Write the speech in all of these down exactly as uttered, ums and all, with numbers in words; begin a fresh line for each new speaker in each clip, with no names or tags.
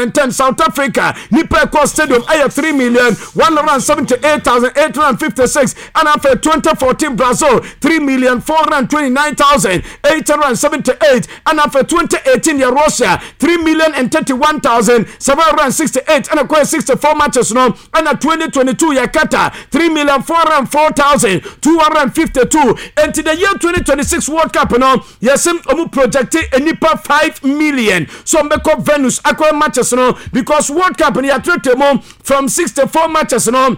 two thousand ten South Africa, nipa ɛkɔ stadium ɛyɛ three million one hundred seventy-eight thousand eight hundred fifty-six. Ɛna afei twenty fourteen Brazil, three million four hundred twenty-nine thousand eight hundred seventy-eight. Ɛna afei twenty eighteen yɛ Russia, three million thirty-one thousand seven hundred sixty-eight. Ɛna kɔyɛ sixty-four matches no. Ɛna twenty twenty-two yɛ Qatar, three million four hundred four thousand two hundred fifty-two. Enti the year twenty twenty-six World Cup no, yɛsɛ ɔmo project nipa five million so ɔmo bɛkɔ venues akɔyɛ matches no, because World Cup no yɛatrɛtrɛ mu from sixty-four matches no,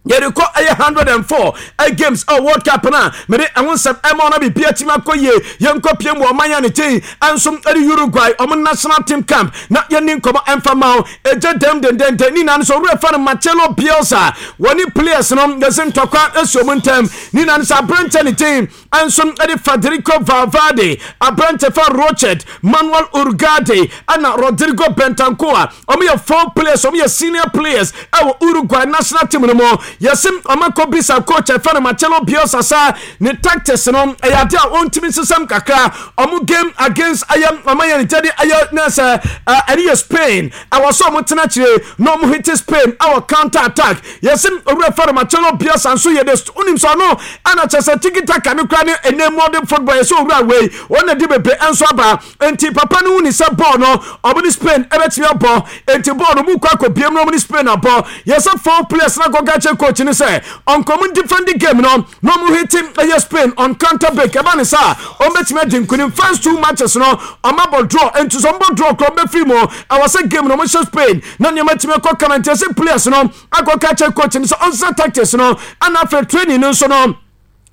yɛde kɔ ɛyɛ one hundred and four ɛ games ɛ World Cup no a mede ɛho nsɛm ɛma ɔno biribi atumi akɔ yie. Yɛnkɔ pie mu ɔman a ne kyɛn ɛnso ɛde Uruguay, ɔmo national team camp, na yɛni nkɔmɔ ɛmfa ma wo. Ɛgye dɛm dendenden ne nyinaa no so owurɛ fa no Marcelo Bielsa, wɔne players no yɛsɛ ntɔkwa asi ɔmo ntɛm. Ne nyinaa no sɛ aberɛnkyɛ ne kyɛn ɛnso ɛde Federico Valverde, aberɛnkyɛ fa Rochet, Manuel Ugarte ɛna Rodrigo Bentancur, ɔmo yɛ four players, ɔmo yɛ senior players ɛwɔ Uruguay national team no mu. Yɛsɛ ɔmakɔ bisa coach ɛfɛ no Marcelo Bielsa sa ne tactics no ɛyɛ ade a ɔntumi nsesɛm kakra. Ɔmo game against ɛyɛ ɔmo yɛ ne gyɛde ɛyɛ ne sɛ ɛne yɛ Spain, ɛwɔ sɛ ɔmo tena akyire na ɔmo hit Spain ɛwɔ counter attack. Yɛsɛ owurɛ fɛ no Marcelo Bielsa nso yɛ de onim sɛ ɔno ɛna kyɛ sɛ tiki taka ne kora ne ɛnɛ modern football. Yɛsɛ owura wei wɔn na di bebree ɛnso aba, nti papa no hu ne sɛ bɔɔl no ɔmo ne Spain ɛbɛtumi abɔ, nti bɔɔl no mu kɔ akɔ biem na ɔmo ne Spain abɔ. Yɛsɛ four players na kɔka kyerɛ coach ne sɛ ɔnkɔm defend game no na ɔmo hit ɛyɛ Spain on counter break. Ɛba ne sa ɔmo bɛtumi adi nkunim. First two matches no ɔmo abɔ draw, nti sɛ ɔmo bɔ draw korɔ ɔmo bɛfiri mu. Ɛwɔ sɛ game no ɔmo hyɛ Spain na nneɛma tumi kɔ kama, nti yɛsɛ players no akɔka kyerɛ coach ne sɛ ɔnsa tactics no. Ɛna afei training no nso no,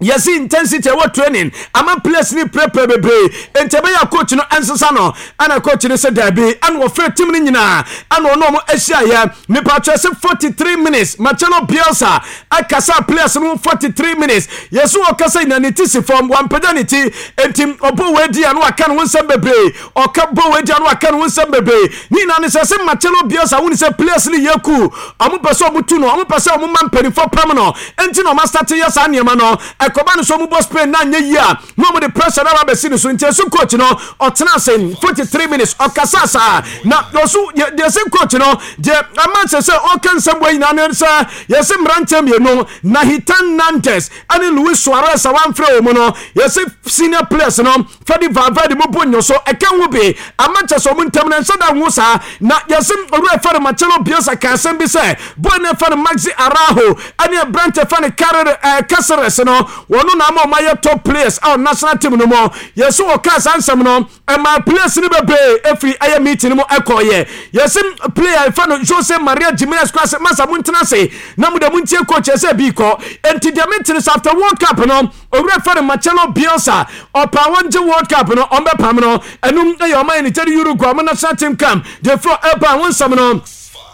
yɛsi intensity ɛwɔ training ama players ni pɛrɛpɛrɛ bebree, nti ɛbɛyɛ coach no ɛnsesa no. Ɛna coach no sɛ daabi. Ɛna wɔfrɛ team no nyinaa, ɛna ɔno ɔmo ahyia yɛ nipa atwa sɛ forty three minutes Marcelo Bielsa akasa players no forty three minutes. Yɛsi wɔkasa nyina ne ti si fam, wampagya ne ti, nti ɔbɔ wɔ adi ano aka ne ho nsɛm bebree, ɔka bɔ wɔ adi ano aka ne ho nsɛm bebree. Ne nyinaa ne sɛ sɛ Marcelo Bielsa wuni sɛ players no yɛ cool, ɔmo pɛ sɛ ɔmo tu no, ɔmo pɛ sɛ ɔmo ma mpanimfoɔ pam no, nti na ɔmo astart yɛ saa nneɛma no. Ɛkɔba no so ɔmo bɔ Spain na nyɛ yie a, na ɔmo de pressure na aba bɛsi ne so. Nti ɛso coach no ɔtena ase forty three minutes ɔkasa saa. Na ɔso deɛ sɛ coach no deɛ ama sɛ sɛ ɔka nsɛm wɔ nyinaa no sɛ yɛsɛ mmeranteɛ mmienu, Nahitan Nandez ɛne Luis Suarez, a wamfrɛ wɔ mu no, yɛsɛ senior players no Fede Valverde mu bɔ nyo so ɛka ho bi ama kyɛ sɛ ɔmo ntam no nhyɛ da ho saa. Na yɛsɛ owura fɛ no Marcelo Bielsa ka asɛm bi sɛ boy ne fɛ no Maxi Araujo ɛne aberante fɛ no Carrera ɛɛ Caceres no, wɔn na ama ɔmo ayɛ top players a national team no mu. Yɛsɛ wɔka saa nsɛm no ɛma players no bebree efiri ɛyɛ meeting no mu ɛkɔɔyɛ. Yɛsɛ player fɛ no Jose Maria Jimenez kora sɛ masa mo ntena ase na mo de mo ntie coach ɛsɛ bi kɔ. Nti deɛ metene sɛ after World Cup no, owura fɛ no Marcelo Bielsa ɔpa wɔn gye World Cup no, ɔmbɛpam no. Ɛnum ɛyɛ ɔman yɛ ne kyɛde Uruguay ɔmo national team camp deɛ furo ɛba wɔn nsɛm no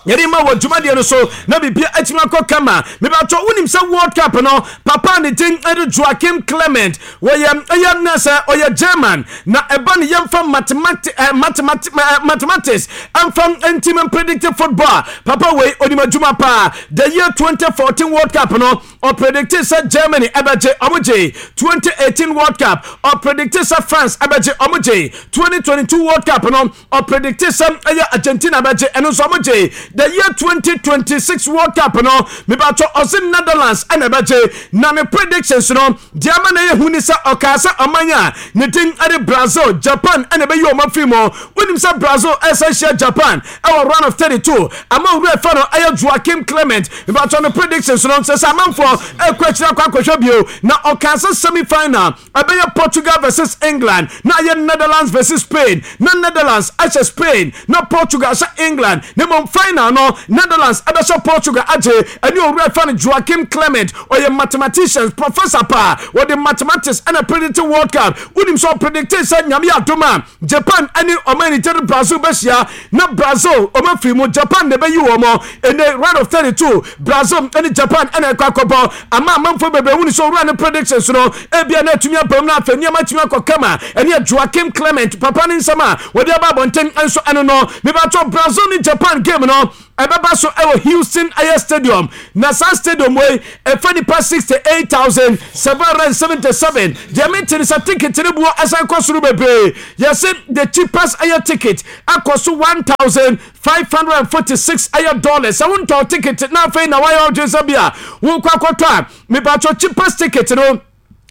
yɛde ma wɔ dwumadeɛ no so na biribia atumi akɔ kama. Mebatɔ wonim sɛ World Cup no, papa ne din de Joachim Clement, wɔyɛ ɛyɛ nɛ sɛ ɔyɛ German, na ɛba ne yɛmfa mathemati eh, mathemati eh, mathematics ɛmfa ntimi predict football. Papa wei onim adwuma paa. The year twenty fourteen World Cup no, ɔpredict sɛ Germany ɛbɛgye, ɔmo gye. twenty eighteen World Cup, ɔpredict sɛ France ɛbɛgye, ɔmo gye. twenty twenty-two World Cup no, ɔpredict sɛ ɛyɛ Argentina bɛgye, ɛno nso ɔmo gye. The year twenty twenty-six World Cup no, mebatɔ ɔse Netherlands ɛna ɛbɛgye, na ne predictions no deɛ ama na ɛyɛ hu ni sɛ ɔkaa sɛ ɔman a ne din ɛde Brazil, Japan ɛna ɛbɛyi ɔmo afiri mu. Wonim sɛ Brazil ɛsɛ hyia Japan ɛwɔ round of thirty-two. Ama owura ɛfɛ no ɛyɛ Joachim Clement, mebatɔ no predictions no sɛ sɛ amanfoɔ ɛkɔ akyire akɔ akɔhwɛ bio. Na ɔkaa sɛ semi final ɛbɛyɛ Portugal versus England, na ayɛ Netherlands versus Spain, na Netherlands ahyɛ Spain na Portugal ahyɛ England, na mmom final no Netherlands ɛbɛhyɛ Portugal agye. Ɛne owura ɛfɛ no Joachim Clement, ɔyɛ mathematician professor paa, wɔde mathematics ɛna predict World Cup. Wonim sɛ ɔpredict sɛ Nyame adom a Japan ɛne ɔman nikyɛre Brazil bɛhyia, na Brazil ɔma firi mu, Japan na ɛbɛyi wɔn mo. Ɛnɛ round of thirty-two, Brazil ɛne Japan ɛna ɛkɔ akɔbɔ. Ama amanfoɔ bebree wuni sɛ owura ne predictions no ebia na atumi abam no afɛ nneɛma atumi akɔ kama. Ɛne Joachim Clement papa ne nsɛm a wɔde aba abɔnten nso ɛno no. Mebatɔ Brazil ne Japan game no. Ɛbɛba so ɛwɔ Houston ɛyɛ stadium, na saa stadium wei ɛfɛ nipa sixty eight thousand seven hundred and seventy seven. Deɛ mente ne sɛ ticket ne boɔ ɛsan kɔ soro bebree. Yɛse the cheapest ɛyɛ ticket akɔ so one thousand five hundred and forty six ɛyɛ dollars. Sɛ wontɔ ticket na afei na wayɛ ɔdwen sɛ bi a wokɔ akɔtɔ a, mepatwɔ, cheapest ticket no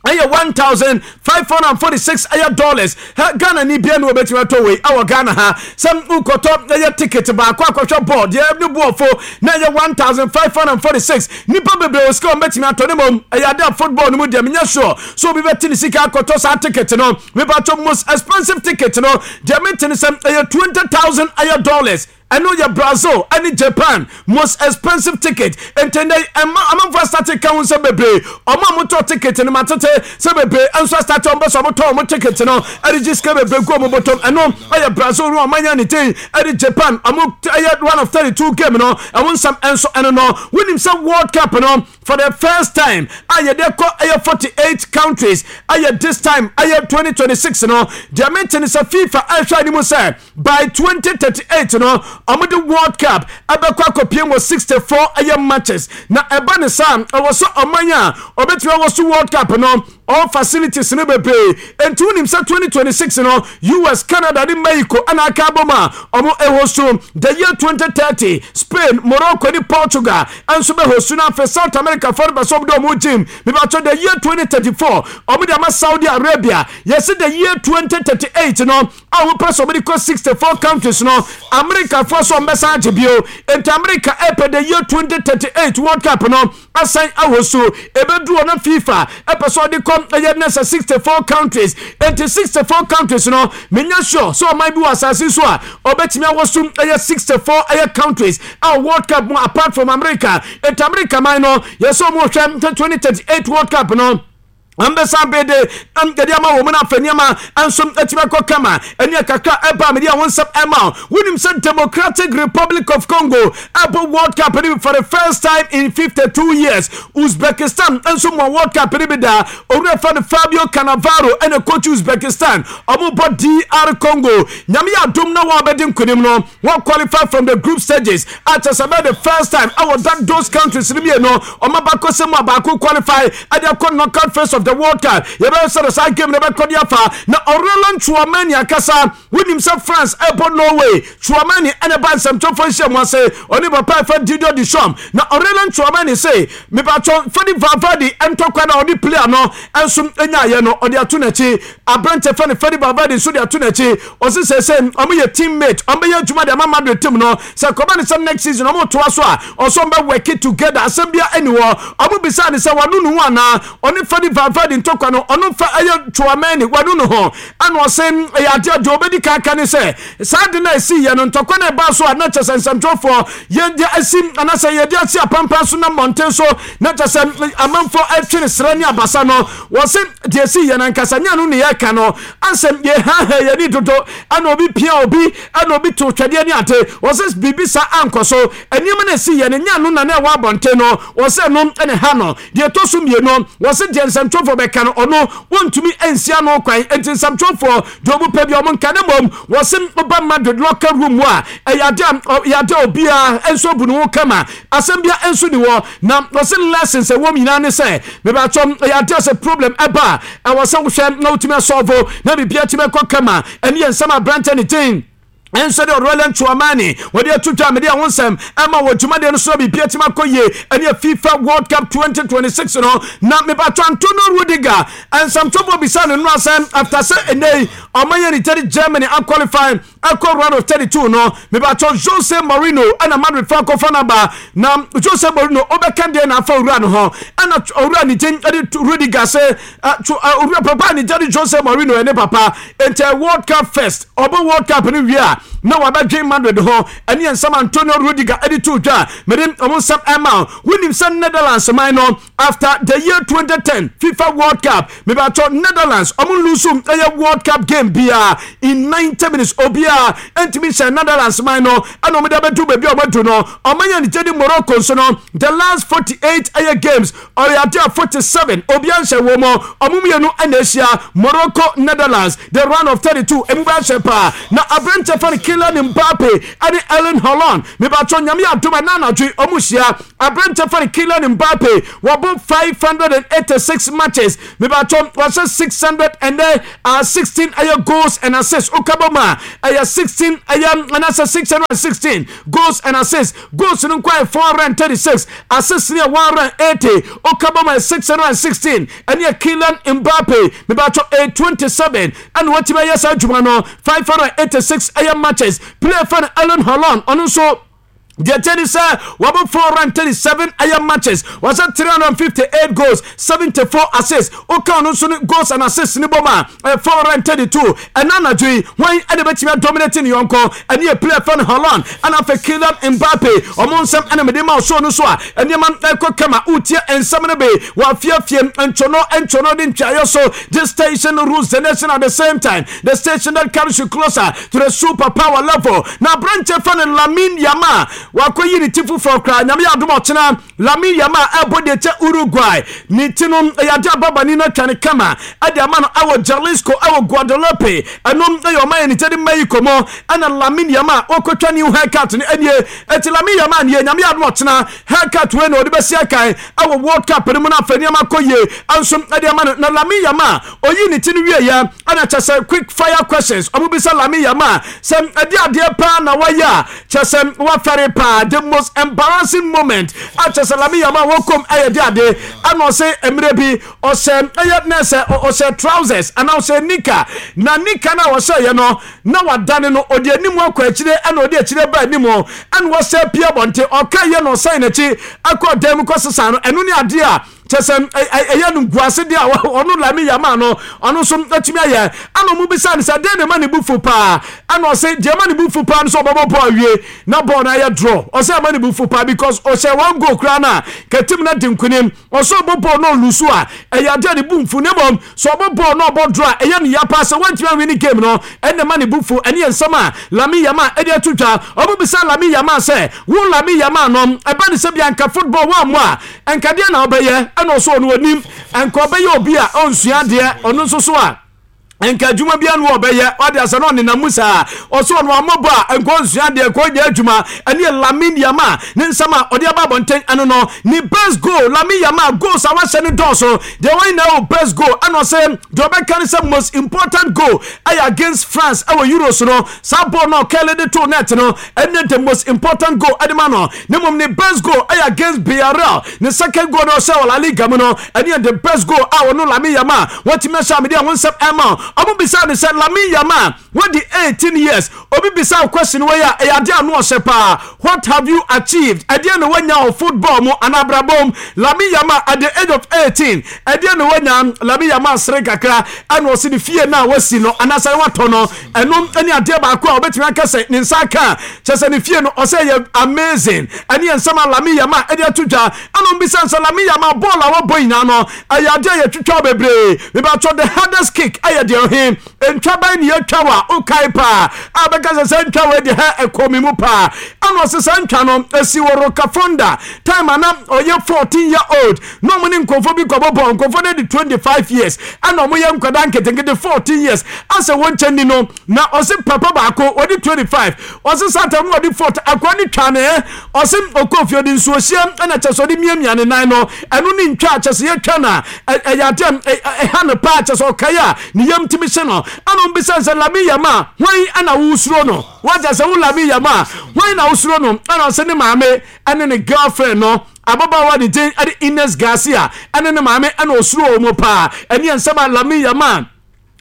ɛyɛ one thousand five hundred and forty six ɛyɛ dollars. Ha Ghana ni bia na wɔbɛtumi atɔ wei ɛwɔ Ghana ha sɛ wokɔtɔ ɛyɛ ticket baako akɔhwɛ bɔɔl deɛ ne boɔfo na ɛyɛ one thousand five hundred and forty six. Nipa bebree wɔ sika wɔn bɛtumi atɔ ne mom. Ɛyɛ ade a football no mu deɛ, menyɛ sure so obi bɛte ne sika akɔtɔ saa ticket no. Mepatɔ, most expensive ticket no deɛ, mente ne sɛ ɛyɛ twenty thousand ɛyɛ dollars. Ɛno yɛ Brazil ɛne Japan most expensive ticket. Ntɛnɛ ɛma amanfo astart ka ho sɛ bebree ɔmo a motɔ ticket no, matete sɛ bebree nso astart ɔmo bɛ sɛ ɔmo tɔ ɔmo ticket no ɛde gye sika bebree gu ɔmo bɔtɔm. Ɛno ɛyɛ Brazil no ɔmo ne ten ɛde Japan ɔmo ɛyɛ one of thirty two game no. Ɛmo nsɛm ɛnso ɛno no, wonim sɛ World Cup no, for the first time a yɛde kɔ ɛyɛ forty eight countries, ɛyɛ this time ɛyɛ twenty twenty six no. Deɛ mente ne sɛ FIFA ɛhwɛ anim sɛ by twenty thirty eight no, ɔmo de World Cup ɛbɛkɔ akɔpie wɔ sixty four ɛyɛ matches. Na ɛba ne saa, ɛwɔ sɛ ɔman a ɔbɛtumi awɔ so World Cup no, all facilities no bebree. Nti wonim sɛ twenty twenty-six no, U S, Canada ne Mexico ɛna aka abɔ mu a ɔmo ɛwɔ so. The year twenty thirty, Spain, Morocco ne Portugal ɛnso bɛhɔ so. No afei South America fɔ no bɛ sɛ ɔmo de ɔmo gym. Mibatɔ, the year twenty thirty-four, ɔmo de ama Saudi Arabia. Yɛsi the year twenty thirty-eight no a wopɛ sɛ ɔmo de kɔ sixty-four countries no, America foɔ so ɔmo bɛsan agye bio. Nti America ɛpɛ the year twenty thirty-eight World Cup no asan ahɔ so. Ebeduru ɔno, FIFA ɛpɛ sɛ ɔde kɔ ɛyɛ ne sɛ sixty-four countries. Nti sixty-four countries no, menya sure sɛ ɔman bi wɔ asase so a ɔbɛtumi awɔ so ɛyɛ sixty-four ɛyɛ countries a World Cup mu apart from America. Nti America man no, yɛsɛ ɔmo hwɛ twenty thirty-eight World Cup no ambɛsa bede yɛde ama wɔ mu no. Afɛ nneɛma nso atumi akɔ kama. Ɛne kakra ɛba mede a wo nsɛm ɛma. Wonim sɛ Democratic Republic of Congo ɛbɔ World Cup no bi for the first time in fifty-two years. Uzbekistan nso mɔ World Cup no bi da. Owura fa no Fabio Cannavaro ɛna coach Uzbekistan. Ɔmo bɔ D R Congo. Nyame yɛ adom na wɔn abɛdi nkonim no, wɔn qualify from the group stages akyɛ sɛ bɛyɛ the first time ɛwɔ that those countries no mmienu ɔmo abakɔ sɛ mu a baako qualify ɛde akɔ knockout phase of the World Cup. Yɛbɛyɛ sɛ saa game no bɛkɔ de afa. Na Aurelien Tchouameni akasa. Wonim sɛ France ɛbɔ Norway, Tchouameni ɛna ba nsɛmtɔfo nhyia mu ase ɔne papa ɛfɛ Didier Deschamps. Na Aurelien Tchouameni se mepatɔ Fede Valverde ntɔkwa na ɔde player no ɛnso nyaayɛ no, ɔde ato n'akyi. Aberante fɛ no Fede Valverde nso de ato n'akyi. Ɔse sɛ sɛ ɔmo yɛ teammate, ɔmo bɛyɛ adwuma de ama Madrid team no. Sɛ kɔba ne sɛ next season ɔmo toa so a, ɔso ɔmo bɛ work together. Asɛm bia ɛni hɔ. Ɔmo bisa ne sɛ wano ne ho anaa ɔne Fede Valverde ntɔkwa no, ɔno fa ɛyɛ Tchouameni wano ne ho. Ɛna ɔse ɛyɛ adeɛ deɛ ɔbɛdi kaka ne sɛ saa de no a ɛsi yɛ no, ntɔkwa no ɛbaa so a na kyɛ sɛ nsɛmtwerɛfoɔ yɛde asi anaasɛ yɛde asi apampa so na mmɔnten so na kyɛ sɛ amanfoɔ atwe ne serɛ ne abasa no, wɔse deɛ ɛsi yɛ no ankasa nyɛ no ne yɛka no ansɛm. Yɛhaha yɛni dodo ɛna obi pia obi ɛna obi to twɛdeɛ ne ade. Wɔse biribi saa ankɔ so. Nneɛma no ɛsi yɛ no nyɛ no na na ɛwɔ abɔnten no. Wɔse no ɛne ha no deɛ ɛtɔ so mmienu, wɔse deɛ nsɛmtwerɛfoɔ bɛka no, ɔno wɔntumi nsia no kwan. Nti nsɛmtwerɛfoɔ deɛ ɔmo pɛ bi ɔmo nka ne mmom, wɔse ɔba Madrid locker room mu a, ɛyɛ ade a ɛyɛ ade a obiara nso bu ne ho kama. Asɛm bia nso ni hɔ. Na wɔse lessons ɛwɔ mu nyinaa ne sɛ mebatɔ ɛyɛ ade a sɛ problem ɛba a, ɛwɔ sɛ wohwɛ na wotumi asolve na biribia tumi ɛkɔ kama. Ɛne yɛ nsɛm aberantɛ ne din ɛnso de Aurelien Tchouameni wɔde ato dwa. Mede ɛho nsɛm ɛma wɔ dwumadeɛ no so na biribia tumi akɔ yie. Ɛne FIFA World Cup twenty twenty-six no na mebatɔ Antonio Rudiger nsɛmtɔbɔ bisa no no asɛm after sɛ ɛnɛ yi ɔma yɛ ne tɛde Germany aqualify ɛkɔ round of thirty-two no. Mebatɔ Jose Mourinho ɛna Madrid fa akɔfa no aba. Na Jose Mourinho ɔbɛka deɛ na afa owura no ho ɛna owura ne gye ɛde Rudiger sɛ owura papa ne gye de Jose Mourinho ɛne papa. Nti World Cup first, ɔbɔ World Cup no wie a na wabɛdwen Madrid ho. Ɛne yɛn nsɛm Antonio Rudiger ɛde to dwa. Mede ɔmo nsɛm ɛma. Wonim sɛ Netherlands man no, after the year twenty ten FIFA World Cup, mebatɔ Netherlands ɔmo lose ɛyɛ World Cup game biara in ninety minutes. Obiara ntumi nhyɛ Netherlands man no ɛna ɔmo de abɛdu baabi a ɔmo adu no. Ɔmo yɛ ne gye di Morocco nso no, the last forty-eight ɛyɛ games, ɔyɛ ade a forty-seven obiara nhyɛ wɔ mu. Ɔmo mmienu ɛna ahyia, Morocco, Netherlands, the round of thirty-two. Emu bɛ ahyɛ paa. Na aberante fɛ no Kylian Mbappe ɛne Erling Haaland. Mebatɔ Nyame adom a na anadwo ɔmo hyia. Aberante fa no Kylian Mbappe wɔbɔ five hundred and eighty-six matches, mebatɔ wɔhyɛ six hundred and sixteen ɛyɛ goals and assists. Wokabɔ mu a, ɛyɛ sixteen ɛyɛ anaasɛ six hundred and sixteen goals and assists. Goals no nkɔ yɛ four hundred and thirty-six, assists no yɛ one hundred and eighty. Wokabɔ mu yɛ six hundred and sixteen. Ɛne yɛ Kylian Mbappe, mebatɔ eight twenty-seven ɛna wɔtumi ayɛ saa adwuma no, five hundred and eighty-six ɛyɛ matches. Player fa no Erling Haaland, ɔno nso deɛ kyɛ ni sɛ wɔbɔ four hundred and thirty-seven ɛyɛ matches, wɔsɛ three hundred and fifty-eight goals, seventy-four assists. Woka ɔno nso no goals and assists ne bɔ mu a, ɛyɛ four hundred and thirty-two. Ɛna anadwo yi, wɔn ɛde bɛtumi adominate ne yɔnko? Ɛne yɛ player fɛ no Haaland ɛna afɛ Kylian Mbappe. Ɔmo nsɛm ɛna mede ma ɔsoro no so a nneɛma ɛkɔ kama. Wotie nsɛm no bi wɔafiafie ntwono ntwono de ntwaeɛ so. This station rules the nation, at the same time the station that carries you closer to the super power level. Na aberanteɛ fɛ no Lamine Yamal, wakɔyi ne ti foforɔ koraa. Nyame yɛ adom, ɔkyena Lamine Yamal ɛbɔ deɛ kyɛ Uruguay. Ne ti no ɛyɛ ade ababani no atwa ne kama ɛde ama no ɛwɔ Jalisco, ɛwɔ Guadalupe. Ɛno ɛyɛ ɔman yɛ ne kyɛ de Mexico mu ɛna Lamine Yamal wɔkɔtwa new haircut no. Ɛnie ɛti Lamine Yamal nie. Nyame yɛ adom, ɔkyena haircut wei na ɔde bɛsi akan ɛwɔ World Cup no mu no, afɛ nneɛma kɔ yie ɛnso ɛde ama no. Na Lamine Yamal oyi ne ti no wie yɛ ɛna kyɛ sɛ quick fire questions ɔmo bisa Lamine Yamal sɛ ɛde adeɛ paa na wayɛ a kyɛ sɛ wafɛre paa, the most embarrassing moment a kyɛ sɛ Lamine Yamal wɔkɔm ɛyɛ de ade. Ɛna ɔsɛ mmerɛ bi ɔhyɛ ɛyɛ nɛsɛ ɔhyɛ trousers anaa ɔhyɛ nika, na nika no a ɔhyɛ yɛ no na wadane no, ɔde anim akɔ akyire ɛna ɔde akyire ba anim ɛna wɔsɛ pie abɔnten. Ɔka yɛ na ɔsɛn n'akyi akɔ dan mu kɔ sesa no. Ɛno ne adeɛ a kyɛ sɛ ɛyɛ no nguase deɛ a ɔno Lamine Yamal no ɔno nso atumi ayɛ. Ɛna ɔmo bisa no sɛ deɛ ne ma ne bu fu paa, ɛna ɔsɛ deɛ ma ne bu fu paa no sɛ ɔbɛbɔ bɔɔl awie na bɔɔl no ayɛ draw. Ɔsɛ ɛma ne bu fu paa because ɔhyɛ one goal koraa no a kɛtim no di nkonim. Ɔsɛ ɔbɔ bɔɔl no ɔlose a, ɛyɛ adeɛ ne bu nfu ne mmom sɛ ɔbɔ bɔɔl no ɔbɔ draw a, ɛyɛ ne ya paa sɛ wɔntumi awie ne game no. Ɛna ma ne bu fu. Ɛne yɛ nsɛm a Lamine Yamal ɛde ato dwa. Ɔmo bisa Lamine Yamal sɛ wo Lamine Yamal no, ɛba ne sɛ bia nka football wɔn a nkadeɛ na ɔbɛyɛ, ɛna ɔsɔ ɔno onim nka ɔbɛyɛ obi a ɔnsua adeɛ, ɔno nso so a nka adwuma bi anu ɔbɛyɛ ɔde asɛ na ɔnenam mu saa. Ɔsɛ ɔno amɔbɔ a nka ɔnsua adeɛ, nka ɔnyɛ adwuma. Ɛne yɛ Lamine Yamal ne nsɛm a ɔde aba abɔnten. Ɛno no ne best goal. Lamine Yamal goals a wahyɛ no dɔɔso deɛ, wɔn nyinaa wɔ best goal. Ɛna ɔsɛ deɛ ɔbɛka ne sɛ most important goal ɛyɛ against France ɛwɔ Euros no, saa ball no ɔkɛlɛ de to net no, ɛne the most important goal ɛde ma no. Ne mmom ne best goal ɛyɛ against Villarreal, ne second goal no ɔhyɛ wɔ La Liga mu no, ɛne yɛ the best goal a ɔno Lamine Yamal wɔtumi ahyɛ amede a wɔn nsɛm ɛma. Ɔmo bisa ne sɛ Lamine Yamal wɔdi eighteen years, obi bisa question wei a ɛyɛ adeɛ ano ɔhyɛ paa, what have you achieved? Ɛdeɛ na wanya wɔ football mu anaa abrabɔ mu? Lamine Yamal at the age of eighteen, ɛdeɛ na wanya? Lamine Yamal sere kakra ɛna ɔsi ne fie na wasi no anaasɛ watɔ no, ɛno ɛne adeɛ baako a ɔbɛtumi aka sɛ ne nsa aka kyɛ sɛ ne fie no. Ɔsɛ yɛ amazing. Ɛne yɛ nsɛm a Lamine Yamal ɛde ato dwa. Ɛna ɔmo bisa sɛ Lamine Yamal, bɔɔl a wɔbɔ nyinaa no, ɛyɛ adeɛ a yɛtwitwa bebree, mebatɔ the hardest kick ɛyɛ deɛ ɔhe ntwa bɛn ne yɛtwa wa wokae paa a bɛka sɛ sɛ ntwa wei de hɛ ɛkɔ mi mu paa? Ɛna ɔsɛ sɛ ntwa no ɛsi wɔ Rocafonda time ana ɔyɛ fourteen year old na ɔmo ne nkurɔfoɔ bi kɔbɔ bɔɔl. Nkurɔfoɔ no de twenty-five years ɛna ɔmo yɛ nkwadaa nketenkete fourteen years asɛ wɔn nkyɛn ni no. Na ɔsɛ papa baako ɔde twenty-five, ɔsɛ sata no ɔde fourteen, akwa ne twa ne ɛ. Ɔsɛ ɔkɔ fie ɔde nsuo hyia ɛna kyɛ sɛ ɔde miamia ne nan no. Ɛno ne ntwa kyɛ sɛ yɛtwa na ɛyɛ adeɛ ɛha no paa kyɛ sɛ ɔkae a ne yam tumi hyɛ no. Ɛna ɔmbisa sɛ Lamine Yamal, hwan ɛna wosuro no? Wagya sɛ wo Lamine Yamal, hwan na wosuro no? Ɛna ɔsɛ ne maame ɛne ne girlfriend no, ababaawa ne din ɛde Ines Garcia, ɛne ne maame ɛna osuro wɔn paa. Ɛne nsɛm a Lamine Yamal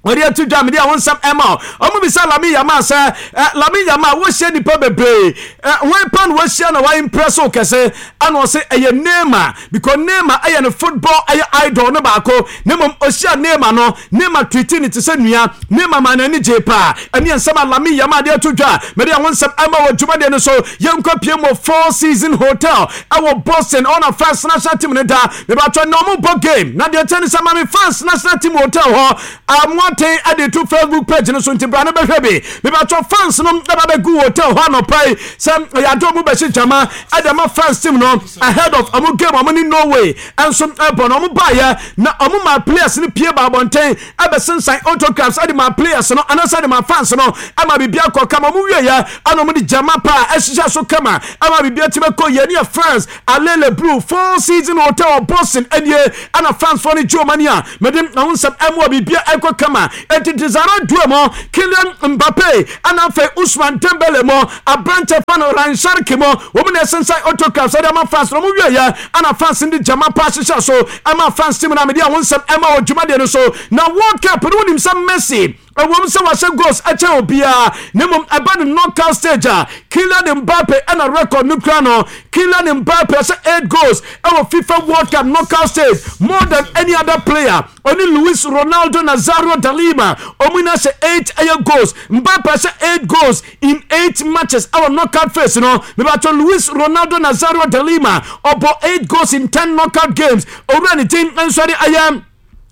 wɔde ato dwa mede a wo nsɛm ɛma. Ɔmo bisa Lamine Yamal sɛ ɛ Lamine Yamal, wɔhyia nipa bebree ɛ, wɔn pa na wɔahyia na wɔn impress wo kɛse? Ɛna ɔsɛ ɛyɛ Neymar because Neymar ɛyɛ ne football ɛyɛ idol no baako. Ne mmom ɔhyia Neymar no, Neymar treat ne te sɛ nua, Neymar ma n'ani gye paa. Ɛne nsɛm a Lamine Yamal de ato dwa mede a wo nsɛm ɛma wɔ dwumadeɛ no so. Yɛnkɔ pie mu Four Season Hotel ɛwɔ Boston ɔna France national team no da mebatɔ na ɔmo bɔ game. Na deɛ kyɛ ne sɛ mame France national team hotel hɔ amoa Boateng ɛde to Facebook page no so, nti bra no bɛhwɛ bi. Mebatɔ fans no ɛba bɛgu hotel hɔ anɔpa yi sɛ ɛyɛ ade ɔmo bɛhyɛ gyama ɛde ama France team no ahead of ɔmo game ɔmo ne Norway ɛnso ɛbɔ no. Ɔmo baayɛ na ɔmo ma players no pie ba abɔnten ɛbɛsensan autographs ɛde ma players no anaasɛ ɛde ma fans no, ɛma biribi akɔ kama. Ɔmo wieɛ ɛna ɔmo de gyama pa ɛhyehyɛ so kama, ɛma biribi atumi kɔ yɛ ne yɛ France Allez Les Bleus, Four Season Hotel Boston ɛnie, ɛna France foɔ no gye ɔmo ani a mɛde ɔmo nsɛm ɛmu a biribi ɛkɔ kama. Eti Desire Doue mo, Kylian Mbappe, ɛna afei Ousmane Dembele mo, aberante fa no Rayan Cherki mo, wɔn na ɛsensan autographs ɛde ama fans no. Ɔmo wieɛ ɛna fans no de gyama pa ahyehyɛ so ɛma France team no a mɛde ɔmo nsɛm ɛma wɔ dwumadeɛ no so. Na World Cup no, wonim sɛ Messi, ɛwɔm sɛ wahyɛ goals ɛkyɛn obiara, na mmom ɛba no knockout stage a, Kylian Mbappe ɛna record no kura no. Kylian Mbappe ɛhyɛ eight goals ɛwɔ FIFA World Cup knockout stage, more than any other player. Ɔne Luis Ronaldo Nazario da Lima, ɔmo nyinaa hyɛ eight ɛyɛ goals. Mbappe hyɛ eight goals in eight matches ɛwɔ knockout phase no. Mebatɔ Luis Ronaldo Nazario da Lima ɔbɔ eight goals in ten knockout games. Owura ne team nso de ayɛ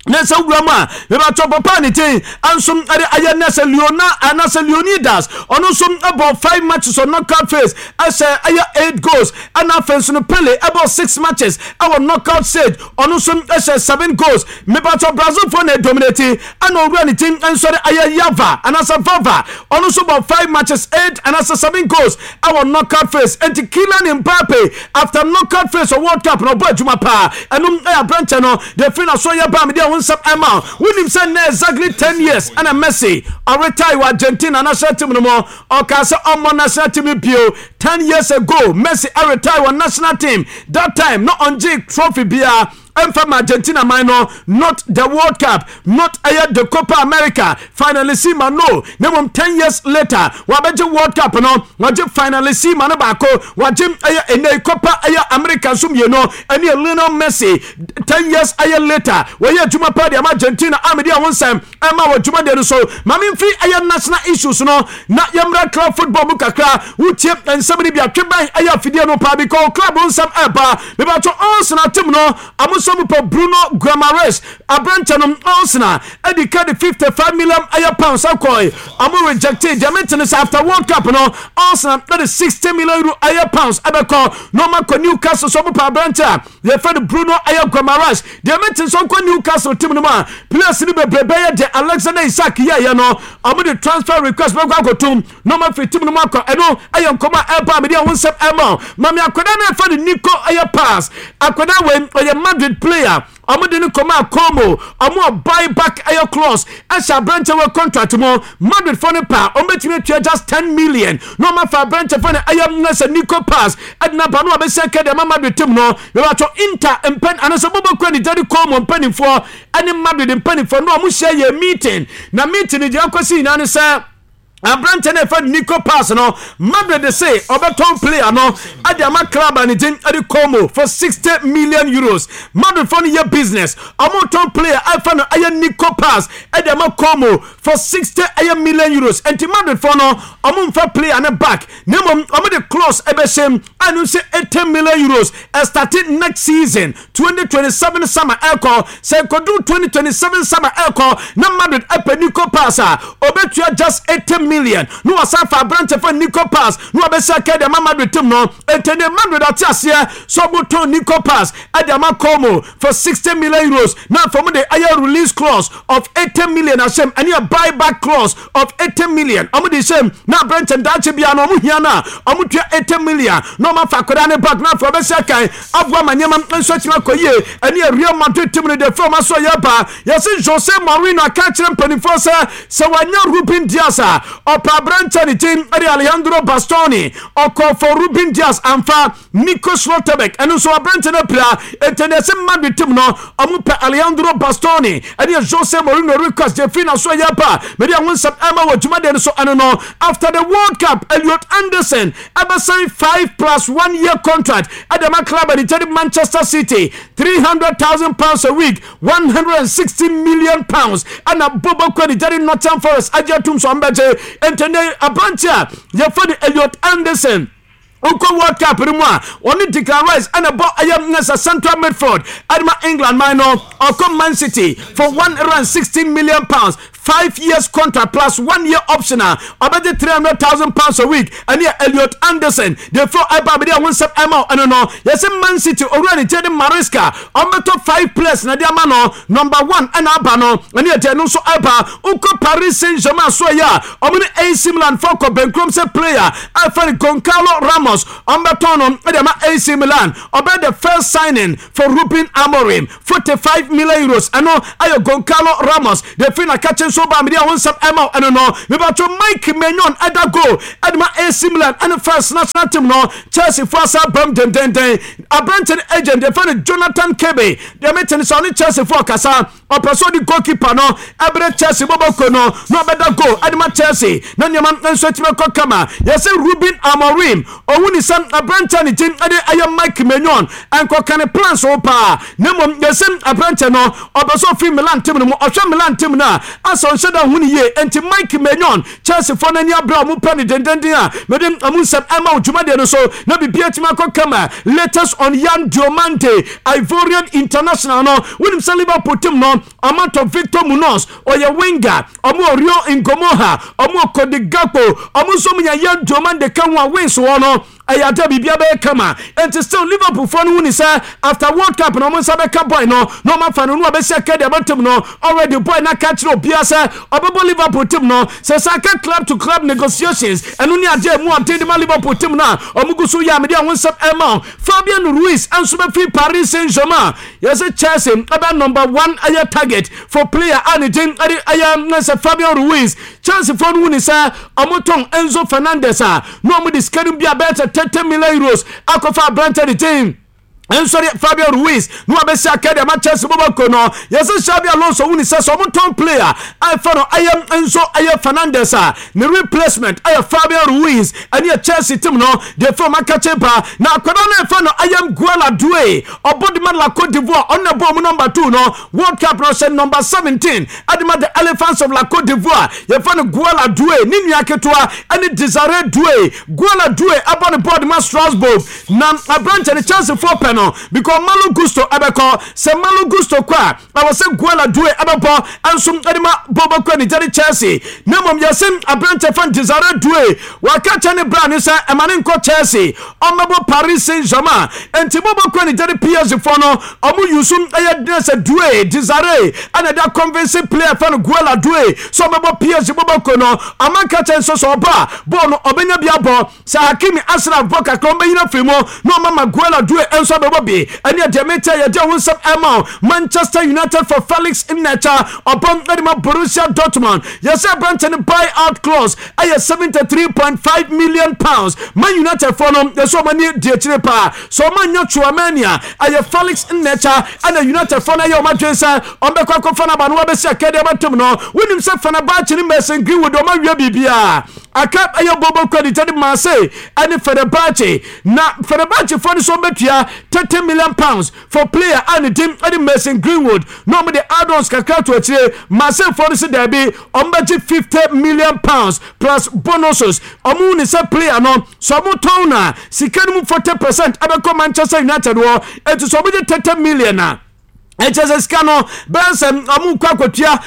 na sɛ wura mu a, mebatɔ papa ne ten nso ɛde ayɛ na sɛ Leona anaasɛ Leonidas, ɔno nso ɛbɔ five matches on knockout phase, ɛsɛ ɛyɛ eight goals. Ɛna afei nso no, Pele ɛbɔ six matches ɛwɔ knockout stage, ɔno nso ɛhyɛ seven goals. Mebatɔ Brazil fo na dominate. Ɛna owura ne team nso de ayɛ Yava anaasɛ Vava, ɔno nso bɔ five matches, eight anaasɛ seven goals ɛwɔ knockout phase. Nti Kylian Mbappe, after knockout phase of World Cup na ɔbɔ adwuma paa. Ɛno ɛyɛ aberanteɛ no deɛ firi na so yɛ ba mi deɛ ho nsɛm ɛma. Wonim sɛ nnɛ exactly ten years ɛna Messi ɔretire wɔ Argentina national team no mu. Ɔkaa sɛ ɔmmɔ national team no bio. Ten years ago, Messi ɛretire wɔ national team. That time no, ɔngye trophy biara ɛmfa ma Argentina man no, not the World Cup, not ɛyɛ the Copa America Finalissima no. Na mmom ten years later, wabɛgye World Cup no, wagye Finalissima no baako, wagye ɛyɛ ɛnɛ Copa ɛyɛ America nso mmienu. Ɛne Lionel Messi, ten years ɛyɛ later, wɔyɛ adwuma pa de ama Argentina amede a wɔn nsɛm ɛma wɔ dwumadeɛ no so. Maame mfiri ɛyɛ national issues no na yɛmmra club football mu kakra. Wotie nsɛm no bi atwe bɛn ɛyɛ afidie no paa because club nsɛm ɛba. Mebatɔ Arsenal team no, amoso mu pɛ Bruno Guimaraes aberanteɛ no. Arsenal ɛdi ka de fifty-five million ɛyɛ pounds akɔe, ɔmo rejected. Deɛ mente ne sɛ after World Cup no, Arsenal ɛde sixty million euro ɛyɛ pounds ɛbɛkɔ na ɔmo akɔ Newcastle so. Ɔmo pɛ aberanteɛ a yɛfɛ no Bruno ɛyɛ Guimaraes. Deɛ mente sɛ ɔnkɔ Newcastle team no mu a, players no bebree bɛyɛ deɛ Alexander Isak yɛɛyɛ no, ɔmo de transfer request bɛkɔ akɔtum na ɔmo afiri team no mu akɔ. Ɛno ɛyɛ nkɔmɔ a ɛba a mede ɛho nsɛm ɛma. Mame akwadaa no ɛfɛ no Nico ɛyɛ Paz. Akwadaa wei ɔyɛ Madrid player. Ɔmo de no kɔma a Como, ɔmo a buy back ɛyɛ clause ɛhyɛ aberanteɛ wɔ contract mu. Madrid fo no pa ɔmo bɛtumi atua just ten million na ɔmo afa aberanteɛ fo no ɛyɛ nsɛ Nico Paz ɛde naba no a bɛsɛ kɛ deɛ ama Madrid team no. Yɛbɛtɔ Inter mpɛn anaasɛ bɔbɔ ne gyade Como mpanimfoɔ ɛne Madrid mpanimfoɔ no, ɔmo hyɛ yɛ meeting, na meeting no deɛ akɔsi nyinaa ne sɛ aberante no ɛfɛ Nico Paz no, Madrid se ɔbɛtɔn player no ɛde ama club a ne din ɛde Como for sixty million euros. Madrid fo no yɛ business, ɔmo tɔn player ɛfɛ no ɛyɛ Nico Paz ɛde ama Como for sixty ɛyɛ million euros. Nti Madrid fo no, ɔmo nfa player no back, na mmom ɔmo de clause ɛbɛhyɛ mu ɛno sɛ eighty million euros ɛstart next season, twenty twenty-seven summer ɛkɔ. Sɛ nkɔdu twenty twenty-seven summer ɛkɔ na Madrid ɛpɛ Nico Paz a, ɔbɛtua just eighty million na wasan fa aberante fa Nico Paz na wabɛsɛ aka de ama Madrid team no. Nti ne Madrid ate aseɛ sɛ ɔmotɔn Nico Paz ɛde ama Como for sixty million euros, na afɔ mu de ɛyɛ release clause of eighty million ahyɛm, ɛne a buy back clause of eighty million ɔmo de hyɛm, na aberante ndaakye bia no ɔmo hia no a, ɔmo tua eighty million na ɔmo afa akwadaa ne back, na afɔ ɔbɛsɛ kan aboa ma nneɛma nso atumi akɔ yie. Ɛne Real Madrid team no de fɛn ɔmo aso yɛ ba yɛsɛ Jose Mourinho aka kyerɛ mpanimfoɔ sɛ sɛ wanya Ruben Dias a, ɔpɛ aberante ne din ɛde Alejandro Bastoni. Ɔkɔ for Ruben Dias amfa. Nico Schlotterbeck ɛno nso aberante no apira. Enti ne ɛsɛ Madrid team no, ɔmo pɛ Alejandro Bastoni. Ɛne Jose Mourinho request de firi na so yɛ ba mede ɛho nsɛm ɛma wɔ dwumadeɛ no so. Ɛno no, after the World Cup, Elliot Anderson ɛbɛsign five plus one year contract ɛde ma club ɛde kyɛde Manchester City, three hundred thousand pounds a week, one hundred and sixty million pounds. Ɛna Bobo Kwedi gyade Nottingham Forest agye atum so ɔmbɛgye. Enti ne aberante a yɛfɛ no Elliot Anderson Wokɔ World Cup no mu a, ɔne Declan Rice ɛna bɔ ɛyɛ sɛ central midfield ɛde ma England man no. Ɔkɔ Man City for one hundred and sixteen million pounds, five years contract plus one year option a ɔbɛgye three hundred thousand pounds a week. Ɛne yɛ Elliot Anderson de fro ɛba abɛde ɛho nsɛm ɛma ɛno no. Yɛsɛ Man City owura ne gyɛ de Maresca, ɔmbɛtɔ five players na de ama no. Number one ɛna aba no, ɛne yɛ deɛ no nso ɛba. Wokɔ Paris Saint Germain so yɛ a, ɔmo ne A C Milan fɔ kɔ bɛnkurom sɛ player ɛfɛ no Goncalo Ramos, ɔmbɛtɔn no ɛde ama A C Milan. Ɔbɛ the first signing for Ruben Amorim, forty-five million euros. Ɛno ɛyɛ Goncalo Ramos de fi na kakye nso ba mede ɛho nsɛm ɛma ɛno no. Mebatɔ Mike Maignan ɛda goal ɛde ma A C Milan ɛne first national team no. Chelsea fo asa bam dendenden. Aberante no agent yɛfɛ no Jonathan Kebe deɛ, mete no sɛ ɔne Chelsea fo ɔkasa, ɔpɛ sɛ ɔde goalkeeper no ɛberɛ Chelsea bɔbɔko no na ɔbɛda goal ɛde ma Chelsea na nneɛma nso atumi akɔ kama. Yɛsɛ Ruben Amorim ɔhu ne sɛ aberante ne gyin ɛde ɛyɛ Mike Maignan ɛnkɔka ne plans wo paa, na mmom yɛsɛ aberante no ɔpɛ sɛ ɔfiri Milan team no mu. Ɔhwɛ Milan team no a, asɛ ɔnhyɛ da hu ne yie. Enti Mike Maignan, Chelsea foɔ no ani aberɛ a ɔmo pɛ ne dendenden a mede ɔmo nsɛm ɛma wo dwumadeɛ no so na biribi atumi akɔ kama. Latest on Yan Diomande, Ivorian international no, wonim sɛ Liverpool team no ɔmatɔ Victor Munoz, ɔyɛ winger. Ɔmo Rio Ngumoha, ɔmo Cody Gakpo, ɔmo nso mo nya Yan Diomande ka ho a wings wɔ no ɛyɛ ade biribia bɛyɛ kama. Nti still Liverpool foɔ no hu ni sɛ after World Cup na ɔmo nsa bɛka boy no na ɔmo afa no no abɛsi aka deɛ abɛtem no. Already boy na ka kyerɛ obiara sɛ ɔbɛbɔ Liverpool team no sɛ sɛ aka club to club negotiations. Ɛno ne adeɛ mu ɔden de ma Liverpool team no a ɔmo gu so yɛ amede a ho nsɛm ɛma. Fabian Ruiz nso bɛfiri Paris Saint Germain. Yɛsɛ Chelsea ɛbɛ number one ɛyɛ target for player a ne din ɛde ɛyɛ sɛ Fabian Ruiz. Chelsea foɔ no hu ni sɛ ɔmo tɔn Enzo Fernandez a na ɔmo de sika no bi a bɛyɛ sɛ thirty million euros akɔfa aberante de din nsɔre Fabian Ruiz na wabɛsi aka deɛ ma Chelsea bɔbɔ no. Yɛsɛ Xabi Alonso wuni sɛ sɛ ɔmo tɔn player a ɛfɛ no ɛyɛ nso ɛyɛ Fernandez a, ne replacement ɛyɛ Fabian Ruiz. Ɛne yɛ Chelsea team no deɛ fɛ ɔmo akakye ba na akwadaa no ɛfɛ no ɛyɛ Guela Doue, ɔbɔ de ma la Cote d'Ivoire. Ɔno na bɔ ɔmo number two no World Cup no, ɔhyɛ number seventeen ɛde ma the Elephants of la Cote d'Ivoire. Yɛfɛ no Guela Doue, ne nua ketewa ɛne Desire Doue. Guela Doue ɛbɔ ne bɔɔl de ma Strasbourg na aberante no Chelsea foɔ pɛ no because Malo Gusto ɛbɛkɔ. Sɛ Malo Gusto kɔ a, ɛwɔ sɛ Guela Doue ɛbɛbɔ ɛnso ɛde ma bɔbɔkɔ ne gyade Chelsea. Na mmom yɛsɛ aberante fan Desire Doue waka kyɛ ne bra ne sɛ ɛma ne nkɔ Chelsea, ɔmmɛbɔ Paris Saint Germain. Enti bɔbɔkɔ ne gyade P S G foɔ no, ɔmo yusu ɛyɛ dene sɛ Doue Desire ɛna ɛde convince player fɛ no Guela Doue sɛ ɔbɛbɔ P S G bɔbɔkɔ no. Amanka kyɛ nso sɛ ɔbɔ a, bɔɔl no ɔbɛnya bi abɔ. Sɛ Hakimi, Ashraf bɔ kakra, ɔmbɛnyina firi mu na ɔma ma Guela Doue nso abɛbɔ bi. Ɛne ɛdeɛ metɛ yɛde ho nsɛm ɛma. Manchester United for Felix Nmecha, ɔbɔm ɛde ma Borussia Dortmund. Yɛsɛ aberante no buy out clause ɛyɛ seventy-three point five million pounds. Man United foɔ no yɛsɛ ɔma ni di akyire paa sɛ ɔma nya Tchouameni a, ɛyɛ Felix Nmecha ɛna United foɔ no ɛyɛ ɔma dwen sɛ ɔmbɛkɔ akɔfa no aba no wabɛsi akadeɛ bɛtom no. Wonim sɛ Fenerbahce ne Mason Greenwood ɔma wie biribiaa aka ɛyɛ bobo credit ɛde Marseille ɛne Fenerbahce, na Fenerbahce foɔ no so ɔmbɛtua thirty million pounds for player a ne din ɛde Mason Greenwood na ɔmo de add-ons kakra to akyire. Marseille foɔ no sɛ daabi, ɔmo bɛgye fifty million pounds plus bonuses. Ɔmo ne sɛ player no sɛ ɔmo tɔn na sika no mu forty percent ɛbɛkɔ Manchester United wɔ. Eti sɛ ɔmo gye thirty million a, ɛkyɛ sɛ sika no bɛyɛ sɛ ɔmo kɔ akɔtua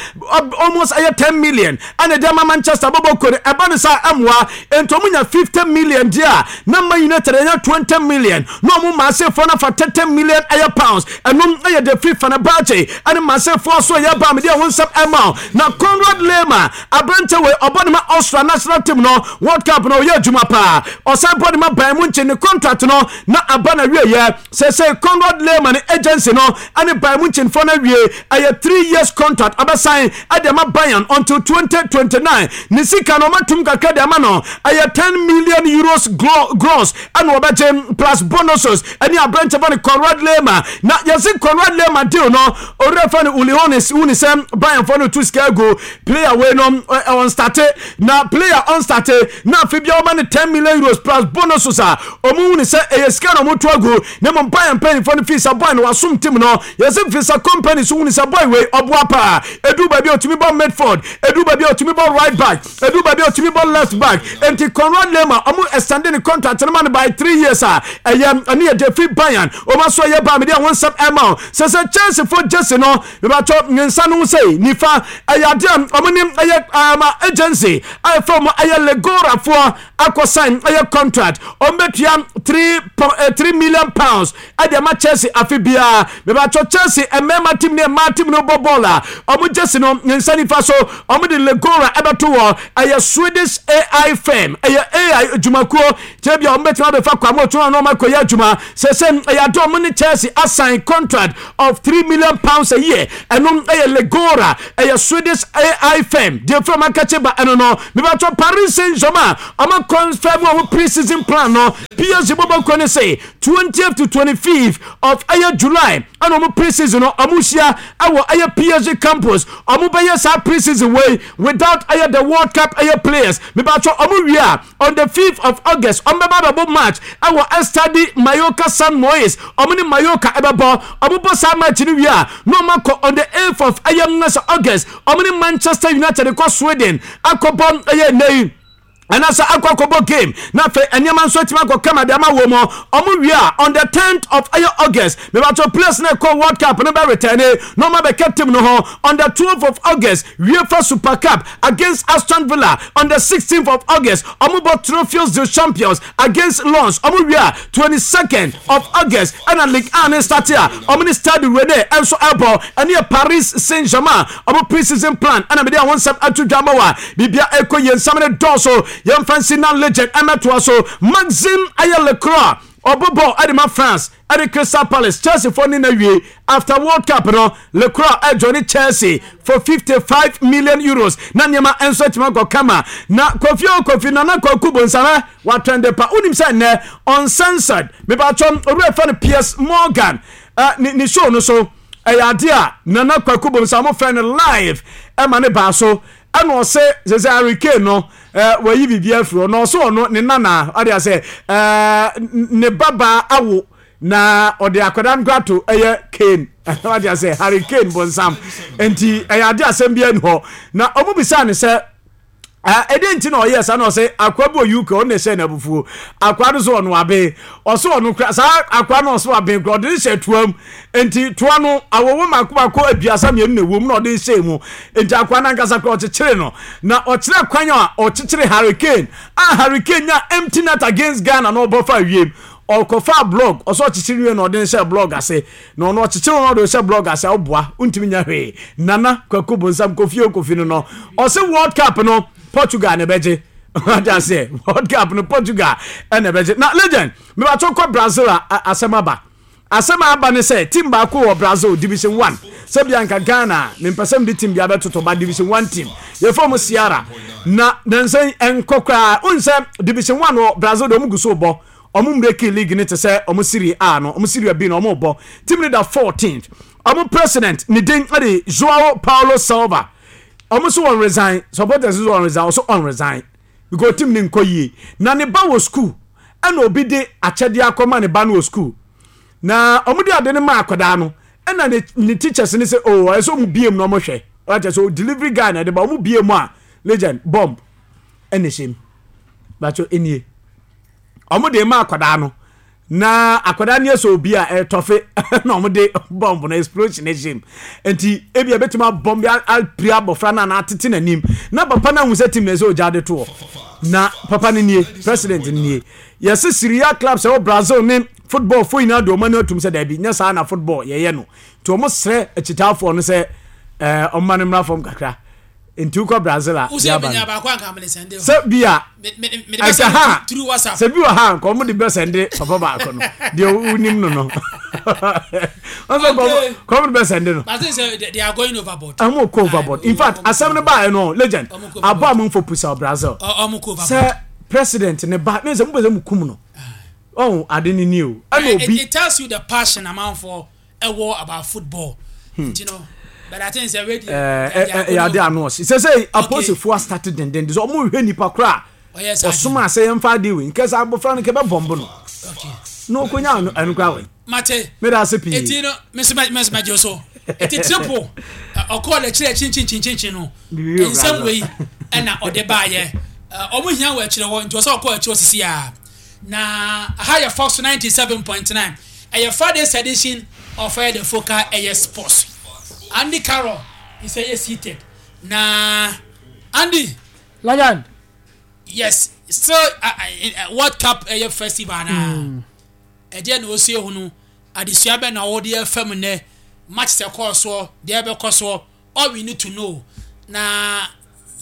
almost ɛyɛ ten million ɛna ɛde ama Manchester bɔbɔ kɔ no. Ɛba no sa ɛmoa nti ɔmo nya fifty million deɛ a, na ma United ɛnya twenty million na ɔmo Marseille foɔ no afa thirty million ɛyɛ pounds. Ɛno ɛyɛ de fi Fenerbahce ɛne Marseille foɔ so ɛyɛ ba mede ɛho nsɛm ɛma. Na Konrad Laimer, aberante wei ɔbɔ ne ma Austria national team no, World Cup no ɔyɛ adwuma paa. Ɔsan bɔ ne ma Bayern Munich. Ne contract no na aba na wieɛ sɛ sɛ Konrad Laimer ne agency no ɛne Bayern Munich foɔ no awie. Ɛyɛ three years contract ɔbɛsan ɛde ama Bayern until twenty twenty-nine. Ne sika no ɔmatum kakra de ama no, ɛyɛ ten million euros gross ɛna ɔbɛgye plus bonuses. Ɛne aberante fɔ no Konrad Laimer. Na yɛsi Konrad Laimer deal no, owurɛ fɔ no Uli Hoeneß wuni sɛ Bayern fɔ no tu sika agu player wei no ɔn start na player ɔn start na afi bia ɔma no ten million euros plus bonuses a, ɔmo wuni sɛ ɛyɛ sika na ɔmo tu agu. Na mmom Bayern mpanyinfoɔ no fi sɛ boy no wasom team no. Yɛsɛ Vincent Kompany so wuni sɛ boy wei ɔboa paa. Edu baabi a otumi bɔ midfield, edu baabi a otumi bɔ right back, edu baabi a otumi bɔ left back. Nti Konrad Laimer, ɔmo extend ne contract no ma no by three years a ɛyɛ ɛne yɛ de fi Bayern. Ɔmo aso ɛyɛ baa mi de ɛho nsɛm ɛma o sɛ sɛ Chelsea fo jersey no, mebatɔ ne nsa no sɛ nifa ɛyɛ adeɛ a ɔmo ne ɛyɛ ɛma agency a ɛfɛ ɔmo ɛyɛ Legora foɔ akɔ sign ɛyɛ contract. Ɔmo bɛtua three three million pounds ɛde ama Chelsea afe biara. Mebatɔ Chelsea mmarima team ne mmaa team no bɔ bɔɔl a, ɔmo jersey no ne nsa nifa so, ɔmo de Legora ɛbɛto wɔ. Ɛyɛ Swedish A I firm, ɛyɛ A I adwumakuo kyerɛ bi a ɔmo bɛtumi abɛfa kwamo otu na ɔmo akɔyɛ adwuma sɛ sɛ ɛyɛ ade. Ɔmo ne Chelsea asign contract of three million pounds a year. Ɛno ɛyɛ Legora, ɛyɛ Swedish A I firm deɛ fɛn akakye ba. Ɛno no, mebatɔ Paris Saint Germain, ɔmo confirm ɔmo pre-season plan no. P S G bɔbɔ kɔ ne sɛ twentieth to twenty-fifth of ɛyɛ July ɛna ɔmo pre-season no ɔmo hyia ɛwɔ ɛyɛ P S G campus. Ɔmo bɛyɛ saa pre-season wei without ɛyɛ the World Cup ɛyɛ players. Mebatɔ ɔmo wie a, on the fifth of August ɔmo bɛba abɛbɔ match ɛwɔ Estadi Mallorca San Mois. Ɔmo ne Mallorca ɛbɛbɔ. Ɔmo bɔ saa match no wie a, na ɔmo akɔ on the eighth of ɛyɛ nnɛsɛ August, ɔmo ne Manchester United kɔ Sweden akɔbɔ ɛyɛ nne anaasɛ akɔ akɔbɔ game. Na afei nneɛma nso atumi akɔ kama de ama wɔ mu. Ɔmo wie a, on the tenth of ɛyɛ August, mebatɔ players na ɛkɔ World Cup no bɛ return na ɔmo abɛka team no ho. On the twelfth of August, UEFA Super Cup against Aston Villa. On the sixteenth of August, ɔmo bɔ Tropheos de Champions against Lens. Ɔmo wie a, twenty-second of August ɛna Ligue one ne start a ɔmo ne Stade Rennais ɛnso ɛbɔ. Ɛne yɛ Paris Saint Germain ɔmo pre-season plan ɛna mede àwọn nsɛm ato dwa ma wa. Biribia ɛkɔ yɛn nsɛm ne dɔɔso. Yɛmfa nsi na legend ɛmɛtoa so. Maxime ayɛ Lecroix, ɔbɔ bɔɔl ɛde ma France ɛde Crystal Palace. Chelsea fo ne na wie after World Cup no, Lecroix ɛjoin Chelsea for fifty-five million euros. Na nneɛma nso atumi akɔ kama. Na Kofi o Kofi, Nana Kwaku Bonsama watwɛn pa. Wonim sɛ nnɛ Uncensored, mebatwɔm owura fɛ no Piers Morgan uh, ne, ne show no so, ɛyɛ ade a Nana Kwaku Bonsama fɛ no live ɛma ne baa so, ɛna ɔsɛ sɛ sɛ Harry Kane no ɛɛ wɔyi biribi afiri hɔ na ɔsɛ ɔno ne nana ɔde asɛ ɛɛ ne babaa awo na ɔde akwadaa no ato ɛyɛ Kane, ɔde asɛ Harry Kane bonsam. Nti ɛyɛ ade asɛm bi ɛni hɔ na ɔmo bisa ne sɛ ɛde nti na ɔyɛ saa, na ɔsɛ akwa bi wɔ U K, ɔno na ɛhyɛ n'abufuo. Akwa no so ɔno abe, ɔsɛ ɔno kura saa akwa no, ɔsɛ abe kura, ɔde ne hyɛ toa mu. Nti toa no awɔwɔ mako mako aduasa mmienu na ɛwɔ mu na ɔde hyɛ mu. Nti akwa no ankasa kora ɔkyekyere no na ɔkyerɛ kwan a ɔkyekyere Harry Kane a Harry Kane nya empty net against Ghana na ɔbɔ fa wiem, ɔkɔfa blog, ɔsɛ ɔkyekyere wie na ɔde ne hyɛ blog ase. Na ɔno ɔkyekyere no, ɔde hyɛ blog ase a ɔboa ntumi nya hwee. Nana Kwaku Bonsam, Kofi o Kofi no no ɔsɛ World Cup no Portugal na ɛbɛgye. Ɔde aseɛ World Cup no Portugal ɛna ɛbɛgye. Na legend, mebatɔ kɔ Brazil a, asɛm aba. Asɛm aba ne sɛ team baako wɔ Brazil Division One, sɛbia nka Ghana mempɛ sɛ mede team bi abɛtoto ba Division One team yɛfrɛ mu Ceara na nansɛn ɛnkɔ koraa. Wohu sɛ Division One wɔ Brazil de, ɔmo gu so bɔ. Ɔmo mbreki league ne te sɛ ɔmo Serie A no, ɔmo Serie B no ɔmo bɔ. Team no da fourteenth. Ɔmo president ne din ɛde Joao Paulo Silva. Ɔmo so wɔn resign, supporters so wɔn resign, ɔso ɔn resign because team ne nkɔ yie. Na ne ba wɔ school, ɛna obi de akyɛdeɛ akɔma ne ba no wɔ school, na ɔmo de ade no ma akwadaa no, ɛna ne ne teachers ne sɛ, oh, ɛsɛ ɔmo bie mu na ɔmo hwɛ. Ɔkyɛ sɛ delivery guy na ɛde ba. Ɔmo bie mu a, legend, bomb ɛna ɛhyɛ mu. Bàtò enie, ɔmo de ma akwadaa no na akwadaa no yɛ sɛ obi a ɛtɔfe na ɔmo de bomb no explosion ɛhyɛ mu. Nti ebi ebetumi abɔm bi apiri abɔfra no anaa atete n'anim. Na papa no ahu sɛ team na ɛsɛ ogya de to hɔ. Na papa no nie, president no nie. Yɛsɛ Serie A clubs ɛwɔ Brazil ne football fo nyinaa de ɔmo ani atum sɛ daabi, nyɛ saa na football yɛyɛ no. Nti ɔmo srɛ akyitaafoɔ no sɛ ɛɛ ɔmo no mmra fam kakra. Nti wokɔ Brazil a, sɛ bi a ɛsɛ ha sɛ bi wɔ ha nka ɔmo de bɛ sɛnde papa baako no deɛ wonim no no ɔsɛ kɔmo de bɛ sɛnde no. Ɔmo kɔ overboard. In fact, asɛm no baa no, legend, abɔ a mo nfo pusa Brazil sɛ president ne ba ne sɛ mo bɛ sɛ mo kum no, ɔn ade ne ni o, ɛna obi.
It tells you the passion amanfoɔ ɛwɔ about football. Hmm. You know, but I think sɛ ready.
Ɛɛ ɛyɛ ade ano ɔsi sɛ sɛ apolisifoɔ astart denden de sɛ ɔmo hwɛ nipa koraa ɔsoma asɛ yɛn fa ade wei nkɛsɛ abɔfra no kɛbɛ bɔmbo no. Na ɔkɔnya ɛno ɛno koraa wɔ.
Mate.
Meda ase pii.
Eti no meso mɛ mɛgye so. Eti triple ɔkɔɔ n'akyire kyinkyinkyinkyin no,
Biribi wɔ
nsɛm
Brazil.
Wei ɛna ɔde baayɛ. Ɔmo hia wɔ akyire hɔ, nti ɔsɛ ɔkɔ akyire sisi a. Na aha yɛ Fox ninety seven point nine, ɛyɛ Friday's edition of ɛyɛ The Focal ɛyɛ Sports. Andy Carroll is ɛyɛ seated na Andy.
Legend.
Yes, still uh, uh, World Cup ɛyɛ festival na ɛdeɛ na osi ehunu adesua bɛ na wɔde ɛfam nɛ match sɛ kɔɔ soɔ deɛ ɛbɛkɔ soɔ. All we need to know na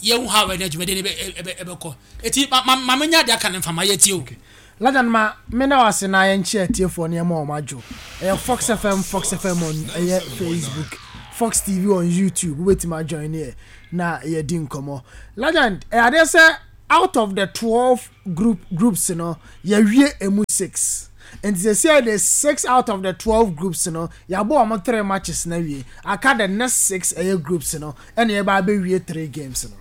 yɛhu how ɛnɛ dwumadie no ɛbɛ ɛbɛ ɛbɛkɔ. Eti ma ma ma menya deɛ aka ne nfa ma yɛ tie o.
Legend, ma me na wase na yɛnkyɛ atiefoɔ nneɛma a ɔmo adwo. Ɛyɛ Fox F M, Fox F M on ɛyɛ Facebook, Fox T V on YouTube. Wobɛtumi ajoin ne yɛ na yɛdi nkɔmmɔ. Legend, ɛyɛ adeɛ sɛ out of the twelve group groups no, yɛwie emu six. Nti sɛ sɛ the six out of the twelve groups no, yɛabɔ ɔmo three matches na wie, aka the next six ɛyɛ groups no, ɛna yɛba abɛwie three games no.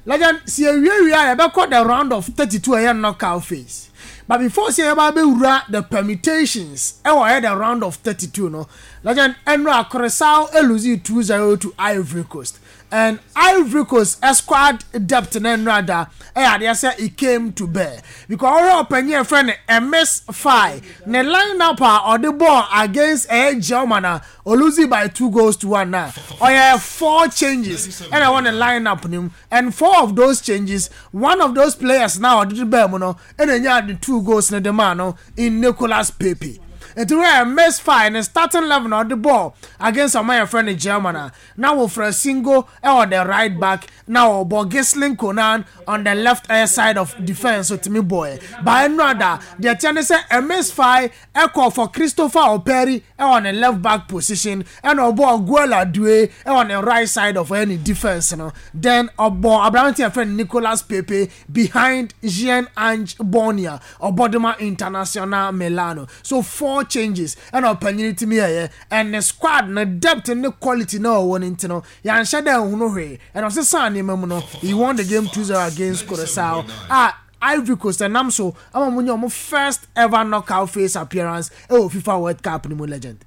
Legend, si ewie wie a, yɛbɛkɔ the round of thirty-two, ɛyɛ knockout phase. But before sɛ yɛba abɛwura the permutations ɛwɔ ɛyɛ the round of thirty-two no, Legend, ɛnura Curaçao elose two zero to Ivory Coast, and Ivory Coast squad depth na ɛnura da ɛyɛ adeɛ sɛ it came to bear, because ɔhwɛ ɔpanyin ɛfrɛ no Emerse Faé ne line up a ɔde ball against ɛyɛ German a olose by two goals to one na ɔyɛ four changes ɛna ɛwɔ ne line up ne mu, and four of those changes, one of those players na ɔde de bɛɛ mu no ɛna enya de two goals ne de maa no in Nicolas Pepe. Nti wɛ Emerse Faé ne starting eleven na ɔde ball against ɔmo yɛ no German a, na wɔfrɛ Singo ɛwɔ the right back, na ɔbɔ Ghislain Konan on the left uh, side of defence. So timi boy by ɛnu ada deɛ kyɛn ne sɛ Emerse Faé ɛkɔ for Christopher Operi ɛwɔ ne left back position, ɛna ɔbɔ Guela Due ɛwɔ ne right side of ɛne defence no. Then ɔbɔ aberante yɛfrɛ no Nicolas Pepe behind Jean Ange Bonia ɔbɔdema International Milano. So four changes ɛna ɔpanyin timi yɛyɛ, and ne squad ne depth ne quality na ɔwɔ ne nti no, yɛanhyɛ dɛ nhunu hwee, ɛna ɔsesa nneɛma mu no, he won the game two zero against Curaçao a Ivory Coast ɛnam so ama mo nye ɔmo first ever knockout phase appearance ɛwɔ FIFA World Cup ne mu. Legend,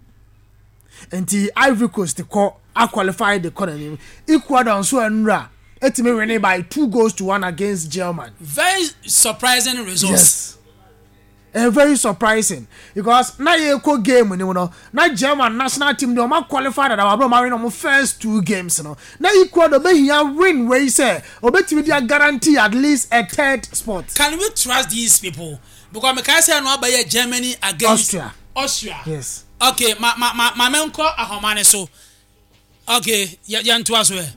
nti Ivory Coast kɔ aqualify de kɔ n'anim. Ecuador nso ɛnura etimi winning by two goals to one against German.
Very surprising results.
Yes, uh, very surprising, because na yɛ kɔ game ni mu no, na German national team de ɔmo qualify dada wabere ɔmo awin ɔmo first two games no, na Ecuador bɛhia win wei sɛ obetumi de guarantee at least a third spot.
Can we trust these people? Because mekae sɛ no abɛyɛ Germany against
Austria.
Austria.
Yes.
Okay, ma ma ma ma menkɔ ahoma ne so. Okay, yɛ yɛntoa so ɛ.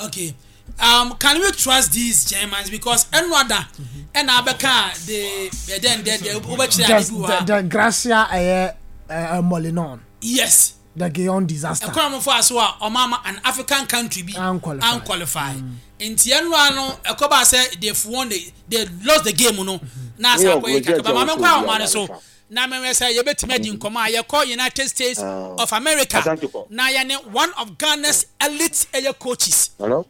Okay, um, can we trust these Germans? Because ɛno ada ɛna abɛka de ɛdɛn dɛ dɛ wobɛkyerɛ ade
Just
bi wɔ
the
ha.
The Gracia ɛyɛ ɛɛ Molinon.
Yes.
The Guion disaster.
Ɛkwan mo fa so a ɔmo ama an African country bi
Unqualified.
Unqualified. Nti ɛnura no ɛkɔba sɛ they won the they lost the game no na asa akɔ yi kakra. Maame nkɔ ahoma no so na mɛmɛ sɛ yɛbɛtumi adi nkɔmɔ a yɛkɔ United States of America na yɛne one of Ghana's elite ɛyɛ coaches
Hello?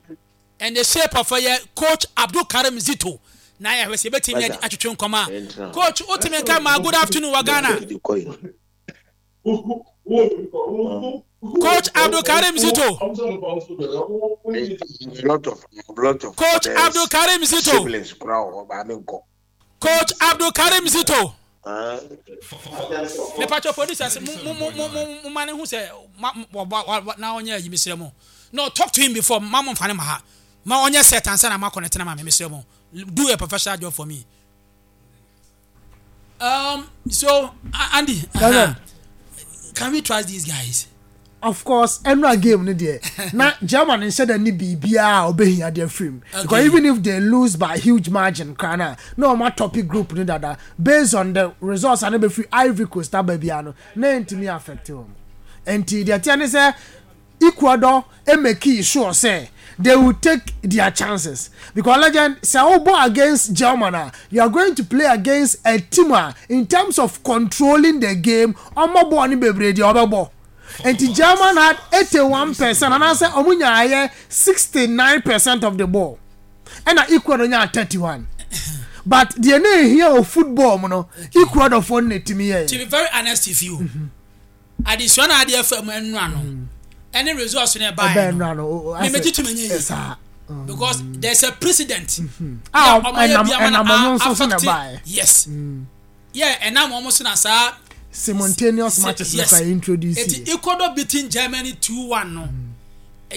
And the shape of ɛyɛ Coach Abdul Karim Zito na yɛhwɛ sɛ yɛbɛtumi adi atwitwe nkɔmɔ a. Coach, wotumi nka ma? Good afternoon wɔ Ghana. Coach Abdul Karim Zito.
Lot of lot of
Coach Abdul Karim Zito.
Siblings kura wɔ hɔ baame nkɔ.
Coach Abdul Karim Zito, mepatwa producers mo mo mo mo mo mo ma ne ho sɛ ma wa wa wa na ɔnyɛ ayi. Mesrɛ mo, no, talk to him before ma mo nfa ne ma ha ma ɔnyɛ set ansa na ma connect na ma me. Mesrɛ mo, do a professional job for me. um so Andy, uh-huh. Can we trust these guys?
Of course, ɛnura game no deɛ, na German nhyɛ dɛ ne biribiara a ɔbɛhia deɛ firim, because even if they lose by huge margin kora na na ɔmo atop group no dada based on the results a ne bɛ firi Ivory Coast aba bia no, na ntumi affect wɔn. Nti deɛ teɛ ne sɛ Ecuador emake sure sɛ they will take their chances, because Legend, sɛ wobɔ against German a, you are going to play against a team a in terms of controlling the game, ɔmo bɔɔl ne bebree deɛ ɔbɛbɔ. Nti German had eighty one percent anaasɛ ɔmo nyaayɛ sixty nine percent of the ball, ɛna Ecuador nyaa thirty one. But deɛ na ehia wɔ football mu no, Ecuador foɔ no na etimi yɛ.
To be very honest with you, adesua na adeɛ fam ɛnura no ɛne results no
ɛbɛn
ɛbaeɛ no
nura no o- o-
me
asɛ-
megye to menyɛ yie.
Saa.
Because there's a precedent.
A
Yeah, ɔmo yɛ
ɛnam
bi ama na
ɛnam ɔmo
a-
nso so na
affect-
ɛbaeɛ.
Yes, yeah, ɛnam ɔmo so na saa
Simultaneous
Se-
matches
yes.
na fa introduce
Eti
yɛ.
Ecuador beating Germany two one no,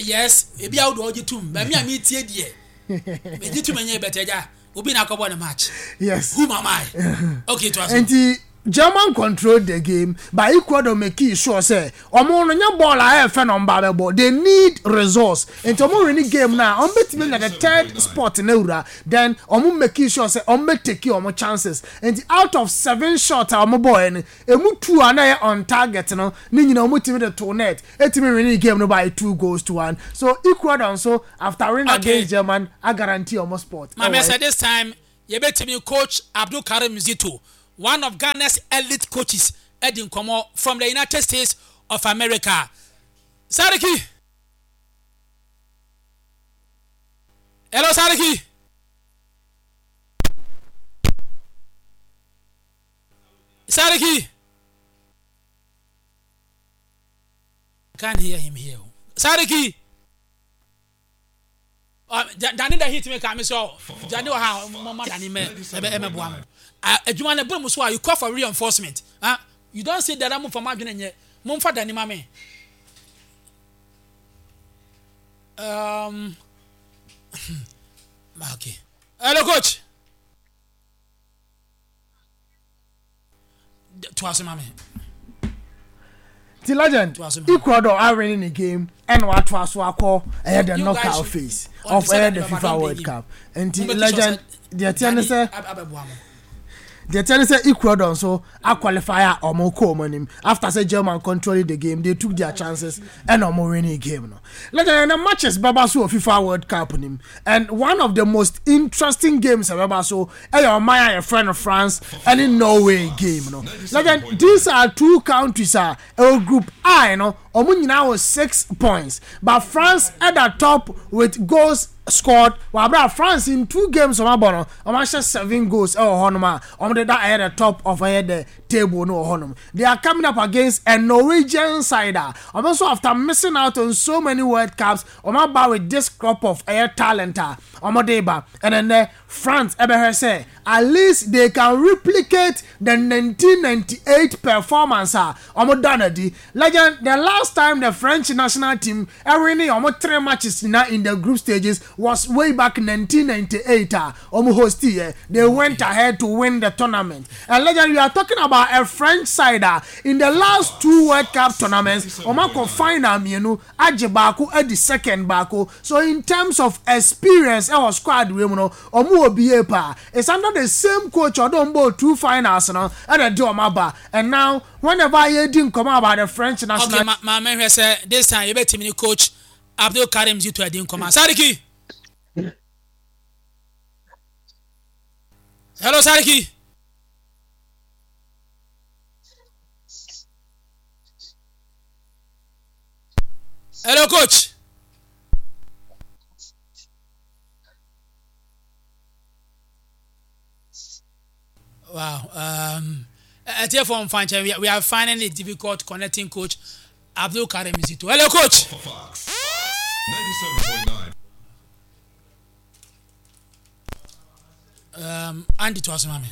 yes, ebi awo de ɔgye tum bɛmi a mi tie deɛ megye tum ɛnyɛ bɛtɛ gya obi na akɔbɔ ne match.
Yes.
Who am I? Okay, to aso.
Nti German control the game, but Ecuador make sure sɛ ɔmo no nyɛ ball a ɛyɛ fɛ na ɔmo ba bɛbɔ. They need results, nti ɔmo win game na ɔmo bɛtumi nya the third spot na wura. Then ɔmo make sure sɛ ɔmo bɛ take ɔmo chances. Nti out of seven shots a ɔmo bɔ yɛ no, emu two a na yɛ on target no ne nyinaa ɔmo tumi de to net, etumi win game no by two goals to one. So Ecuador nso, after winning
Okay.
against German, a guarantee ɔmo spot.
Maame
Ɛwɔ
sɛ this time yɛbɛtumi coach Abdul Karim Zito, one of Ghana's elite coaches, ɛdi nkɔmɔ from the United States of America. Sariki, hello Sariki. Sariki, can't hear him here. Sariki. Uh, Dani da hit me ka me so Dani wɔ ha mama Dani mɛ ɛbɛ ɛmɛ boa mo. Adwuma no bere mu so a, you call for reinforcement. Ah, you don say dada mo fa mo adwene nyɛ mo nfa Dani ma me. um okay hello coach, to aso ma me.
Ti legend,
To aso ma me.
Ecuador are winning the game ɛna watoa so akɔ ɛyɛ the
You guys
knockout
should-
phase
on
of
the
ɛyɛ the
side,
FIFA
don't
World
beg
Cup. Nti
Mo make sure
legend,
sɛ
deɛ teɛ ne
Dani
sɛ
ab- abɛboa mo.
Deɛ teɛ ne sɛ Ecuador nso aqualify a ɔmo kɔ ɔmo anim after sɛ German controlling the game. They took their chances ɛna ɔmo winning game no. Legend, ɛna matches bɛba so wɔ FIFA World Cup nim, and one of the most interesting games ɛbɛba so ɛyɛ ɔman a yɛfrɛ no France ɛne Norway game no. Legend, these are two countries a ɛwɔ group I no. Ɔmo nyinaa wɔ six points, but France ɛda top with goals scored. Wabra France in two games ɔmo abɔ no, ɔmo ahyɛ seven goals ɛwɔ hɔnom a ɔmo de da ɛyɛ the top of ɛyɛ the table no wɔ hɔnom. They are coming up against a Norwegian side a ɔmo nso, after missing out on so many World Cups, ɔmo aba with this crop of ɛyɛ talent a ɔmo de ba. Ɛnɛ nɛ France ɛbɛhwɛ sɛ at least they can replicate the nineteen ninety-eight performance a ɔmo da n'adi. Legend, the last time the French national team ɛwin ɔmo three matches na in the group stages was way back nineteen ninety-eight a ɔmo host yɛ. They went ahead to win the tournament. And legend, we are talking about a French side a in the last two World Cup tournaments, ɔmo akɔ final mmienu, agye baako, adi second baako. So in terms of experience ɛwɔ squad wei mu no, ɔmo wɔ bie paa. It's under the same coach ɔde ɔmo bɔ two finals no ɛna de ɔmo aba. And now, whenever yɛdi nkɔmɔ about the French national
Okay, ma maame hwɛ sɛ this time yɛbɛtumi ne coach Abdul Karim Zito adi nkɔmɔ. Sariki, hello Sariki. Hello coach. Wow, um ɛtiɛfoɔ mfa nkyɛn, we, we are finding it difficult connecting coach Abdul Karim Zito. Hello coach.
Fox ninety-seven point nine.
um, Andy, to asoma me.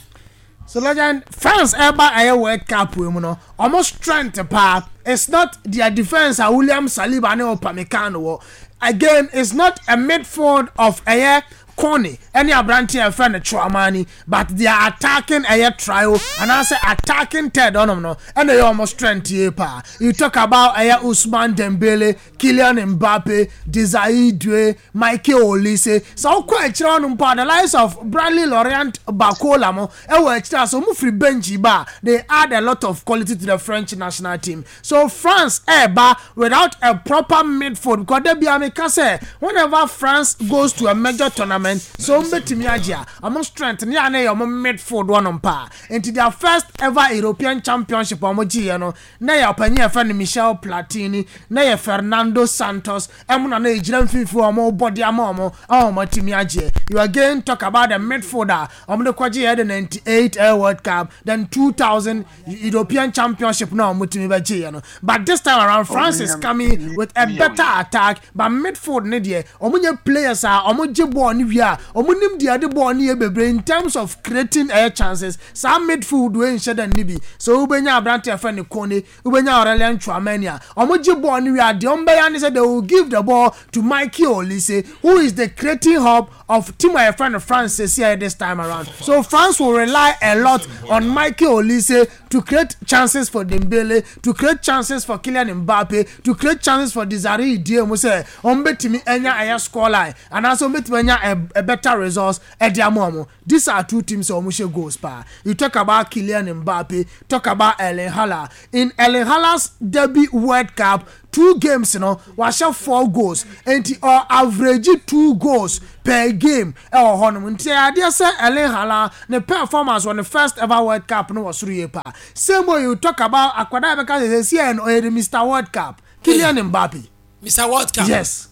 So legend, France ɛba ɛyɛ World Cup wei mu no, ɔmo strength paa, it's not their defence a William Saliba ne Upamecano wɔ. Again, it's not a midfield of ɛyɛ Kone ɛne aberanteɛ a yɛfrɛ no Tchouameni, but they are attacking ɛyɛ trio anaasɛ attacking third ɔnom no ɛna ɛyɛ ɔmo strength yie paa. You talk about ɛyɛ Ousmane Dembele, Kylian Mbappe, Desire Doue, Michael Olise. Sɛ wokɔ akyerɛ hɔnom mpo a, the likes of Bradley Laurent Barcola mo ɛwɔ akyerɛ a sɛ ɔmo firi bench ba a, they add a lot of quality to the French national team. So France ɛɛba without a proper midfield, because de bia meka sɛ whenever France goes to a major tournament tournament so ɔmo bɛtumi agye a ɔmo strength ne yɛ ne yɛ ɔmo midfield wɔnom paa nti their first ever European Championship a ɔmo gyeeɛ no na yɛ ɔpanyin a yɛfrɛ no Michel Platini na yɛ Fernando Santos ɛmo na na egyina mfimfini a ɔmo bɔ de ama ɔmo a ɔmo atumi agyeɛ you again talk about the midfield a ɔmo de kɔgye yɛ the ninety eight Air World Cup then two thousand European Championship na ɔmo tumi bɛgye yɛ no but this time around France is coming with a better attack but midfield ne deɛ ɔmo nyɛ players a ɔmo gye ball ne wie a ɔmo nim deɛ de ball ne yɛ bebree in terms of creating air chances saa midfield wei nhyɛ dɛ ne bi so wobɛnya aberante ɛfɛ ne Kone wobɛnya Aurelien Tchouameni a ɔmo gye ball ne wie a deɛ ɔmo bɛyɛ ne sɛ they will give the ball to Michael Olise who is the creating hub of team a yɛfrɛ no France sisi this time around so France will rely a lot on Michael Olise to create chances for Dembele to create chances for Kylian Mbappe to create chances for Desiree Doué mu sɛ ɔmo bɛtumi anya ɛyɛ score line anaasɛ ɔmo bɛtumi anya a, a better results ɛde ama ɔmo these are two teams a ɔmo hyɛ goals paa you talk about Kylian Mbappe talk about Erling Haaland in Erling Haaland's debut World Cup two games no wahyɛ four goals nti ɔ average two goals per game ɛwɔ hɔnom nti adeɛ sɛ Erling Haaland ne performance wɔ ne first ever World Cup no wɔ soro yie paa same way you talk about akwadaa bɛka sɛ sɛ no ɔyɛ the Mr World Cup Kylian Mbappe
Mr World Cup
yes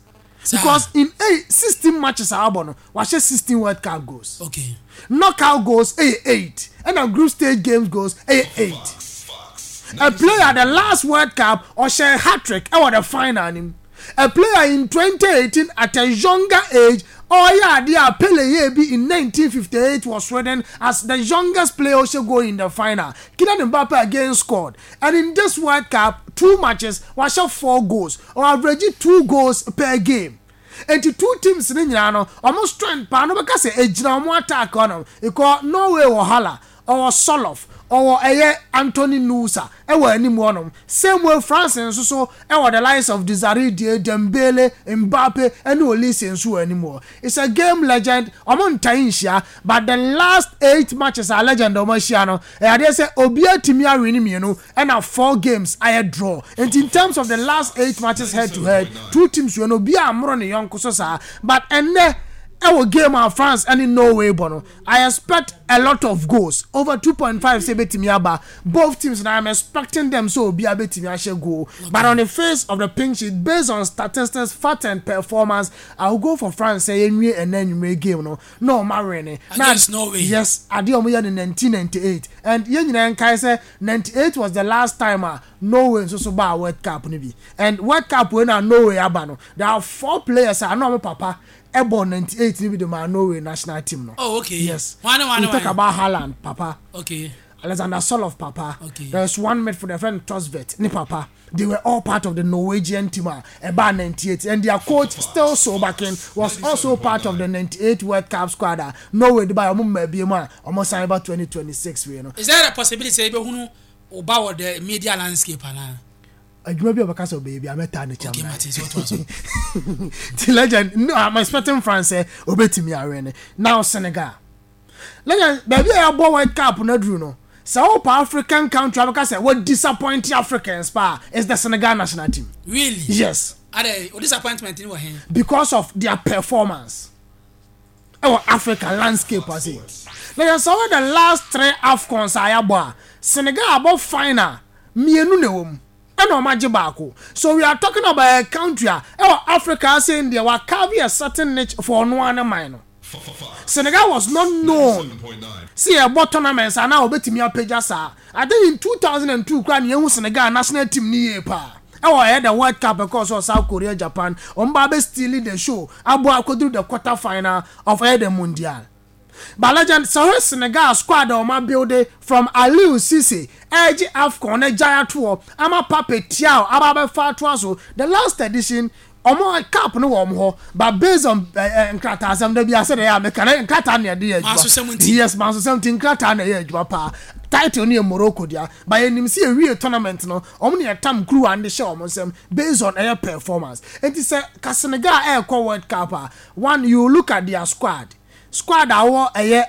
because in eight sixteen matches a abɔ no wahyɛ sixteen World Cup goals
okay
knockout goals ɛyɛ eight ɛna group stage games goals ɛyɛ eight a player the last World Cup ɔhyɛ hat-trick ɛwɔ the final nim a player in twenty eighteen at a younger age ɔyɛ adeɛ a Pele yɛ bi in nineteen fifty eight wɔ Sweden as the youngest player ɔhyɛ goal in the final Kylian Mbappe again scored and in this World Cup two matches wahyɛ four goals or average two goals per game nti two teams ne nyinaa no ɔmo strength paa no bɛka sɛ egyina ɔmo attack hɔnom ikɔ Norway wɔ Haaland ɔwɔ Sørloth ɔwɔ ɛyɛ Anthony Nusa ɛwɔ anim hɔnom same way France nso so ɛwɔ the likes of Desiree Doué Dembele Mbappe ɛne Olise nso wɔ anim hɔ it's a game legend ɔmo ntan nhyia but the last eight matches a legend ɔmo ahyia no ɛyɛ adeɛ sɛ obiara tumi awe ne mmienu ɛna four games ayɛ draw nti in terms of the last eight matches head to head two teams wɔ no obiara amoro ne yɔnko so saa but ɛnɛ ɛwɔ game a France ɛne Norway bɔ no I expect a lot of goals over two point five sɛ ebetumi aba both teams na I'm expecting them so obi abetumi ahyɛ goal okay. but on the face of the pink sheet based on statistics fact and performance I will go for France sɛ yɛnwie ɛnɛ nwumire game no na ɔmo awɛ ne
against Norway
yes adeɛ ɔmo yɛ no nineteen ninety eight and yɛn nyinaa nkae sɛ ninety eight was the last time a Norway nso so baa World Cup no bi and World Cup wey na Norway aba no there are four players a na ɔmo papa ɛbɔ ninety eight ni bi de ma Norway national team no.
oh okay
yes
one one
we
one
talk about Haaland papa.
okay
Alexander Sørloth papa.
Okay.
There's one midfielder friend Thorstvedt ni papa. They were all part of the Norwegian team uh, about ninety eight and their coach still Solbakken was also part of the ninety eight World Cup squad. Uh, Norway de ba ɔmo mma bi mu a ɔmo sign about twenty twenty six wey no.
is there a possibility sɛ ebehunu ɔba wɔ the media landscape ana.
Adwuma bi a ɔbɛka sɛ ɔbɛyɛ bi a mɛta ne kyɛm
okay
na.
Martin so what was
Ti legend no I'm expecting France sɛ obetumi awɛ ne now Senegal legend baabi a yɛabɔ World Cup no aduru no sɛ wopɛ African country abɛka sɛ wɔ disappoint Africans paa is the Senegal national team
really
yes
ade o disappointment ni wɔ hen
because of their performance ɛwɔ Africa landscape ase legend sɛ wɔyɛ the last three AFCONs a yɛabɔ a Senegal abɔ final mmienu na ɛwɔ mu ɛna ɔmo agye baako so we are talking about a country a ɛwɔ Africa ase deɛ wa carve a certain niche for ɔno ara ne man no Senegal was not known sɛ yɛbɔ tournaments ana obetumi apagya saa I think in two thousand and two kora ne yɛhu Senegal national team ni yie paa ɛwɔ ɛyɛ the World Cup ɛkɔɔ so South Korea Japan wɔn ba bɛ steal the show abɔ akɔduru the quarter final of ɛyɛ the Mundial but legend sɛ ɔhwɛ Senegal squad a wɔn abuild from Aliou Cisse ɛgye AFCON ne gya atoɔ ama Pape Thiaw aba abɛfa atoa so the last edition ɔmo cup no wɔ ɔmo hɔ but based on ɛɛ nkrataa asɛm dɛbi ase de yɛ ameka ne nkrataa na yɛde yɛ adwuma
Mansosɛm nti.
yes mansosɛm nti nkrataa na ɛyɛ adwuma paa title no yɛ Morocco dea but yɛnim sɛ yɛwie tournament no ɔmo ne yɛtam kuruwa de hyɛ ɔmo nsɛm based on ɛyɛ performance nti sɛ ka Senegal ɛɛkɔ World Cup a one you look at their squad squad a wɔwɔ ɛyɛ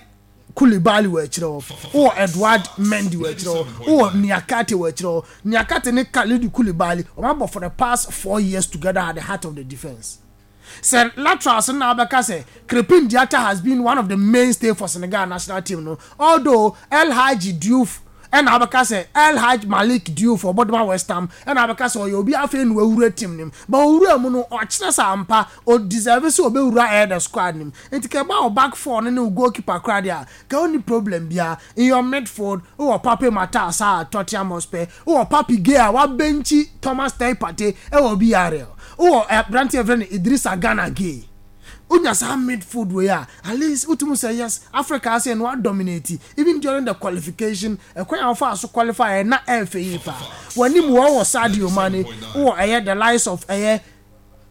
Koulibaly wɔ akyire hɔ wowɔ Edouard Mendy wɔ akyire hɔ wowɔ Niakate wɔ akyire hɔ Niakate ne Kalidou Koulibaly ɔmo abɔ for the past four years together at the heart of the defence Sɛ laterals no na wabɛka sɛ Krepin Diatta has been one of the mainstay for Senegal national team no, although El Hadji Diouf ɛna wabɛka sɛ El Hadj Malick Diouf ɔbɔdoma West Ham ɛna wabɛka sɛ ɔyɛ obi afei na wawura team nim, but owura mu no, ɔkyerɛ sɛ ampa o deserve sɛ ɔbɛwura ɛyɛ the squad nim. Nti kɛ ɛba wo back four no ne wo goalkeeper koraa deɛ a, kɛ wonni problem biara. In your midfield, wowɔ Pape Matar Sarr, Tottenham Hotspur, wowɔ Papi Gueye a wabɛnkyi Thomas Teye Partey ɛwɔ B R L, wowɔ aberanteɛ yɛfrɛ no Idrissa Gana Gueye. Wonya saa midfield wei a, at least wotumi sɛ yes, Africa ase no dominate even during the qualification. Ɛkwan a wɔfa so qualify na ɛɛfɛ yie paa. W'anim wɔ wɔ Sadio Mane, wowɔ ɛyɛ the likes of ɛyɛ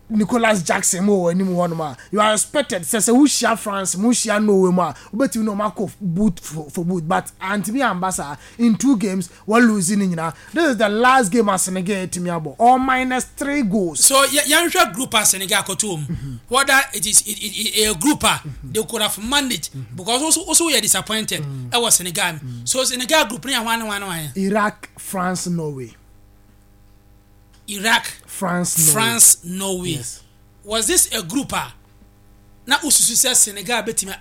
Nicholas Jackson mu wɔ anim hɔnom a you are expected sɛ sɛ wohyia France mu, wohyia Norway mu a, wobɛtumi na ɔmo akɔ boot for, for boot, but antumi amba saa. In two games, wɔn lose ne nyinaa. This is the last game a Senegal etumi abɔ or minus three goals.
So yɛnhwɛ group a Senegal akɔto mu, whether it is it, it, a group a they could have managed, because also also yɛ disappointed ɛwɔ Senegal. So Senegal group ne yɛ hwan ne hwan ne hwan?
Iraq, France, Norway.
Iraq,
France, Norway.
France, Norway.
Yes.
Was this a group a na ususu sɛ Senegal betumi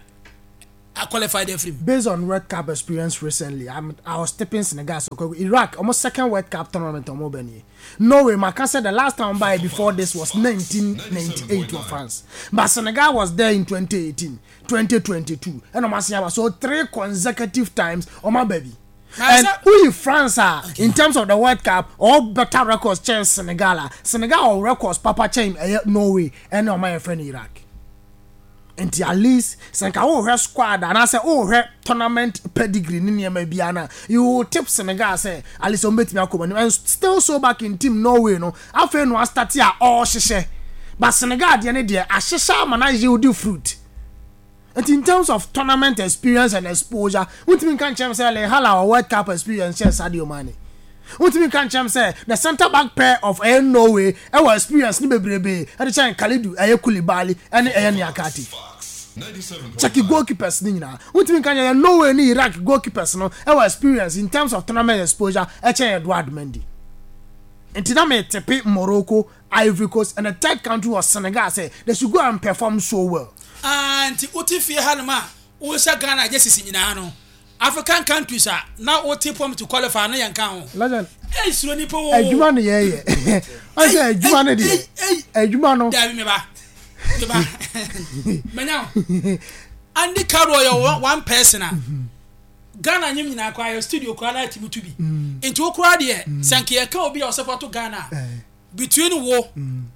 a qualify de afiri mu?
Based on World Cup experience recently, I'm, I was tipping Senegal. So Iraq, almost second World Cup tournament ɔmo bɛ nie. Norway, maka said the last time by before this was nineteen ninety-eight for France. But Senegal was there in twenty eighteen, twenty twenty-two. And ɔmo so three consecutive times ɔmo baby. And who France are okay. In terms of the World Cup, all better records kyɛn Senegal a Senegal all records papa kyɛn ɛyɛ Norway ɛne ɔmo ayɛ friend Iraq. Nti at least sɛ nka wohwɛ squad anaasɛ wohwɛ tournament pedigree ne nneɛma biara na you will tip Senegal sɛ at least ɔmo bɛtumi akɔ anim. And still so back in team Norway no, afei no astart a ɔrehyehyɛ, but Senegal deɛ ne deɛ ahyehyɛ ama na yield fruit. Nti in terms of tournament experience and exposure, wontumi nka nkyɛn sɛ Erling Haaland wɔ World Cup experience kyɛn Sadio Mane. Wontumi nka nkyɛn sɛ the centre back pair of ɛyɛ Norway ɛwɔ experience ne bebrebe ɛde kyɛn Kalidou ɛyɛ Koulibaly ɛne ɛyɛ Niakate. Check goalkeepers ne nyinaa, wontumi nka nkyɛn Norway ne Iraq goalkeepers no ɛwɔ experience in terms of tournament exposure ɛkyɛn Edouard Mendy. Nti na me tip Morocco, Ivory Coast and the third country was Senegal sɛ they should go and perform so well.
Ah, nti wote fie hanom a wohyɛ Ghana agye sisi nyinaa no, African countries a na wote pɔm to qualify no, yɛn ka ho.
Legend.
Ɛy, suro nipa wo.
Adwuma no yɛyɛ ɔsɛ adwuma no deɛ, adwuma no.
Dabi, meba meba manya wo. Andy Carroll yɛ one person a Ghana nyim nyinaa koraa yɛ studio koraa na ɛtumi tu bi. Nti wo koraa deɛ, sɛ nka yɛka obi a ɔsɛ to Ghana a, between wo,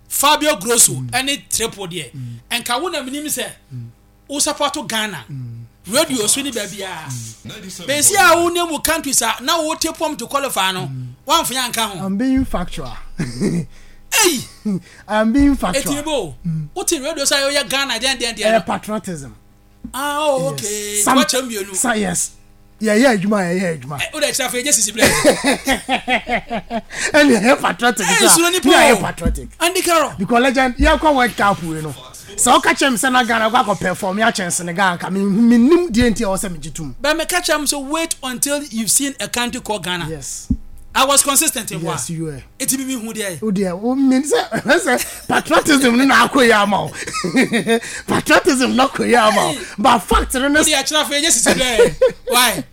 Fabio Grosso ɛne Triple deɛ, nka wo na menim sɛ wo support Ghana radio so ne baabi a bɛsi a wo ne mu countries a na wo te pɔm to qualify no, wamfa yɛ anka ho.
I'm being factual.
Ei!
I'm being factual.
Eti bo wote radio so a yɛyɛ Ghana deɛ deɛ deɛ.
Ɛyɛ patriotism.
Ah, oh, okay. Wakyɛ mmienu.
Sa yes, yɛyɛ adwuma, yɛyɛ adwuma.
O de kyerɛ afei gye sisi bilɛ.
Ɛni ɛyɛ patriotic.
Ɛyɛ suro nipa o.
Yɛ patriotic.
Andy Carroll.
Because legend, yɛ kɔ World Cup wei no, sɛ ɔka kyerɛ mi sɛ na Ghana kɔ akɔ perform yɛ akyɛn Senegal, nka mi mi nim deɛ nti a ɛwɔ sɛ mi gye tum.
But me catch am so, wait until you've seen a country called Ghana.
Yes.
I was consistent in.
Yes, you were.
Eti mi mi hu deɛ.
O deɛ o mi sɛ sɛ patriotism no na akɔ yi ama o, patriotism na akɔ yi ama o, but fact no ne.
O de akyerɛ afei gye sisi bilɛ, why?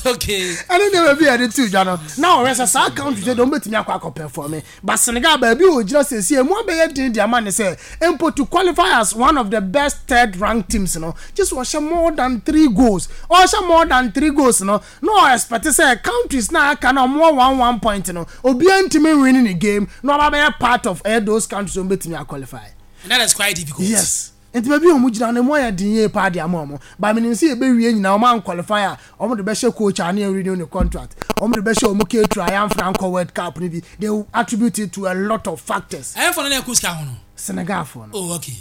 Okay.
Ɛne nneɛma bi a yɛde to dwa no na ɔhwɛ sɛ saa country sɛ deɛ ɔmbɛtumi akɔ akɔ perform, but Senegal baabi a ɔgyina sɛsie emu abɛyɛ den de ama ne sɛ mpo to qualify as one of the best third ranked teams no, just ɔhyɛ more than three goals. Ɔhyɛ more than three goals no na ɔ expect sɛ countries na aka na ɔmo one one point no, obiara ntumi win ne game na ɔba bɛyɛ part of ɛyɛ those countries ɔmo bɛtumi aqualify.
And that is quite difficult.
Yes, nti baabi a wɔn gyina no mu ayɛ den yie paa de ama wɔn, but menim sɛ yɛbɛwie nyinaa wɔn anqualify a, wɔn de bɛhyɛ coach a ne yɛn renew ne contract, wɔn de bɛhyɛ wɔn keetu a yɛamfra nkɔ World Cup no bi. They will attribute it to a lot of factors.
Ɛyɛ fɔ no na ɛkó sika ho no.
Senegal fo no.
Oh, okay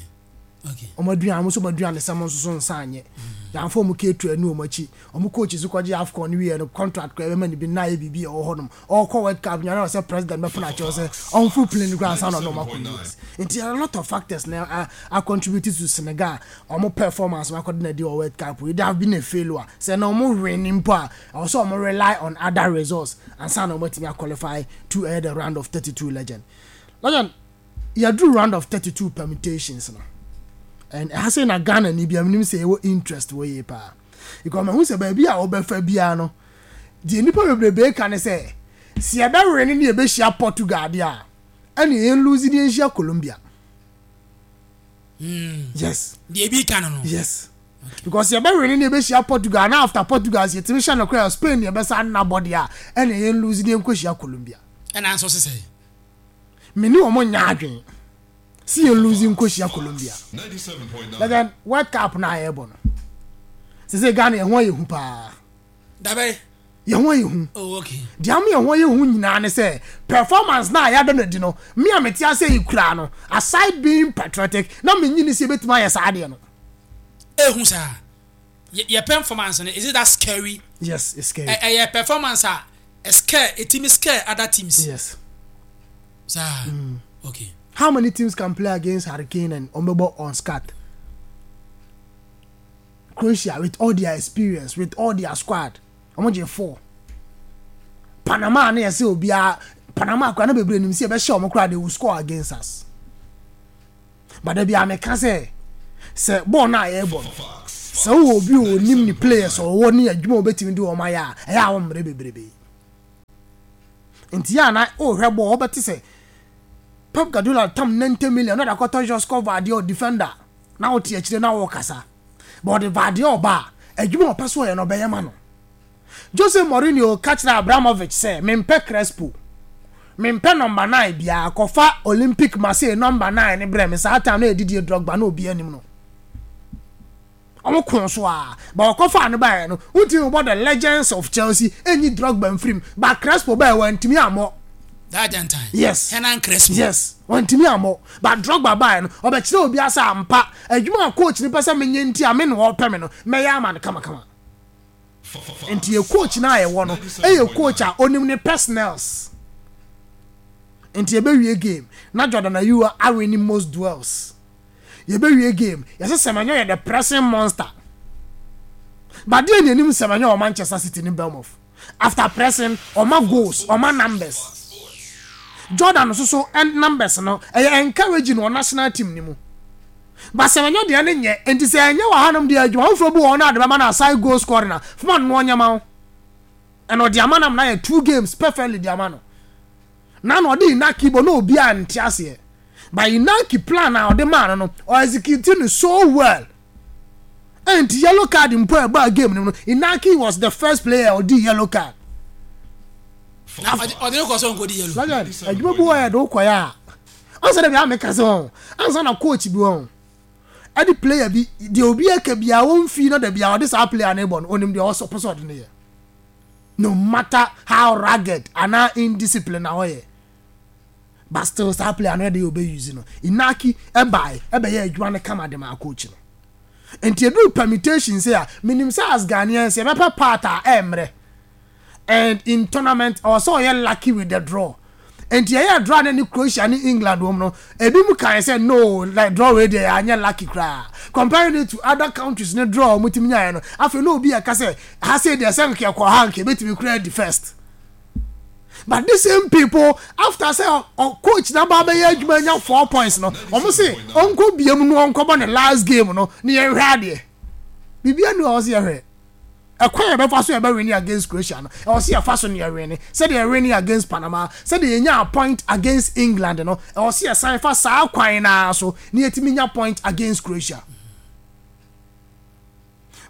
okay.
Wɔn aduane, wɔn nso wɔn aduane sɛm nso so nsa anyɛ yɛamfa wɔn keetu ani wɔn akyi. Wɔn coach so kɔgye AFCON no wie no, contract kora ɛbɛma ne bi na ayɛ biribi a ɛwɔ hɔnom. Ɔkɔ World Cup nyina na ɔsɛ president bɛfo akyɛw sɛ ɔnforo plane kora ansa na ɔno ɔmo akɔ U S. Nti a lot of factors na a a contribute to Senegal ɔmo performance ɔmo akɔde na di wɔ World Cup. It have been a failure sɛ na ɔmo win mpo a, ɛwɔ sɛ ɔmo rely on other results ansa na ɔmo atumi qualify to ɛyɛ the round of thirty-two. Legend, legend, Yɛduru round of thirty two permutations no, and ɛha sɛ na Ghana ni bia menim sɛ yɛwɔ interest wɔ yie paa, because mahu sɛ baabi a wɔbɛfa biara no deɛ, nipa bebrebe ka ne sɛ si yɛbɛwere ne ne yɛbɛhyia Portugal deɛ a, ɛne yɛn lose ne yɛnhyia Colombia. Yes.
Deɛ ebi ka no no.
Yes, because yɛbɛwere ne ne yɛbɛhyia Portugal na after Portugal sɛ yɛtumi hyɛ no koraa, Spain yɛbɛsa nna bɔ deɛ a, ɛne yɛn lose ne yɛnkɔhyia Colombia.
Ɛna nso sisɛ.
Me ne wɔn nyɛ adwene si yɛn lose nkɔhyia Colombia.
Ninety-seven point nine.
But then World Cup na yɛbɔ no sese Ghana, yɛn ho ayɛ hu paa.
Dabɛ.
Yɛn ho ayɛ hu.
Oh, okay.
Deɛ ama yɛn ho ayɛ hu nyinaa ne sɛ performance na yɛada no adi no, me a mete ase yi kura no, aside being patriotic, na menyini sɛ yɛbɛtumi ayɛ saa adeɛ no.
Ehu saa yɛ yɛ performance no, is it that scary?
Yes, it's scary.
Ɛ ɛyɛ performance a scare, etimi scare other teams?
Yes.
Saa, okay.
How many teams can play against Harry Kane and ɔmbɛbɔ on scat? Croatia, with all their experience, with all their squad, ɔmo gye four. Panama ne yɛsɛ obiara Panama kora na bebree nim sɛ yɛbɛhyɛ ɔmo kora, they will score against us. But dabi a meka sɛ sɛ bɔɔl no a yɛrebɔ no, sɛ wowɔ obi a onim ne players a ɔwɔ ne adwuma a obetumi de wɔn ayɛ a, ɛyɛ a wɔmmerɛ bebrebe. Nti yɛ a na ɔrehwɛ bɔɔl, ɔbɛte sɛ Pep Guardiola tam ninety million na ɔde akɔtɔ Josko Gvardiol defender, na wote akyire na wɔrekasa, but ɔde Gvardiol ba a, adwuma a ɔpɛ so ɔyɛ no, ɔbɛyɛ ma no. Jose Mourinho ka kyerɛ Abramovich sɛ mempɛ Crespo, mempɛ number nine biara, kɔfa Olympic Marseille number nine ne brɛ me. Saa time na yɛdidie Drogba na obi anim no, ɔmo ko so a, but ɔkɔfa ne baeɛ no, wontumi bɔ the legends of Chelsea ɛnyi Drogba mfirim, but Crespo baeɛ, wantumi ammɔ.
That Argentine.
Yes.
Hernan Crespo.
Yes, wantumi ammɔ, but Drogba baeɛ no, ɔbɛkyerɛ obi asa ampa adwuma a coach no pɛ sɛ menyɛ, nti a me na ɔpɛ me no, mɛyɛ ama no kamakama. Nti yɛ coach no a yɛwɔ no ɛyɛ coach a onim ne personnels. Nti yɛbɛwie game na Jordan Ayew awin most duels. Yɛbɛwie game, yɛsɛ Semenyo yɛ the pressing monster, but deɛ ne anim Semenyo wɔ Manchester City ne Bournemouth, after pressing, ɔma goals, ɔma numbers. Jordan nso so ɛn numbers no ɛyɛ encouraging wɔ national team ne mu, but Semenyo deɛ ne nyɛ. Nti sɛ ɛnyɛ wɔ hanom deɛ, adwuma foforɔ bi wɔ hɔ no ade bɛma no aside goal scoring a foma no ɔnyɛma wo, ɛna ɔde ama nam na yɛ two games perfectly de ama no, na na ɔde Inaki bɔ na obi a nte aseɛ, but Inaki plan a ɔde maa no no ɔexecute no so well. Ɛnti yellow card mpo a ɛbaa game no mu no, Inaki was the first player a ɔdi yellow card.
Na ɔde ɔde ne kɔ so nkɔ di yellow.
Legend, adwuma bi wɔ yɛ de wokɔyɛ a, ɔnsɛ dɛ bia meka sɛ wɔn ansa na coach bi wɔn ɛde player bi deɛ, obi aka bia wɔmfi na da bia ɔde saa player ne bɔ no, onim deɛ ɔsɔ pɛ sɛ ɔde ne yɛ, no matter how rugged anaa indiscipline na ɔyɛ, but still saa player no yɛ de yɛ ɔbɛ use no. Inaki ɛbae ɛbɛyɛ adwuma no kama de ma coach no. Nti edu permutation sɛ a, menim sɛ as Ghanaians yɛbɛpɛ part a ɛmmerɛ, and in tournament ɔwɔ sɛ ɔyɛ lucky with the draw. Nti ɛyɛ draw ne ne Croatia ne England wɔm no, ebi mu kan sɛ no, like draw wei deɛ anyɛ lucky koraa, comparing it to other countries ne draw a wɔn ti nyaeɛ no. Afei na obi yɛ ka sɛ ha sɛ deɛ sɛ nka ɛkɔ ha nka ebetumi koraa di first, but the same people, after sɛ ɔ coach na ba bɛyɛ adwuma nya four points no, wɔn se ɔnkɔ biem no, ɔnkɔbɔ ne last game no ne yɛn hwɛ adeɛ. Biribi anu a ɔsi yɛhwɛ ɛkwan yɛ bɛfa so yɛbɛ win against Croatia no, ɛwɔ sɛ yɛfa so ne yɛ win sɛdeɛ yɛ win against Panama, sɛdeɛ yɛnya point against England no, ɛwɔ sɛ yɛsan fa saa kwan naa so ne yɛtumi nya point against Croatia.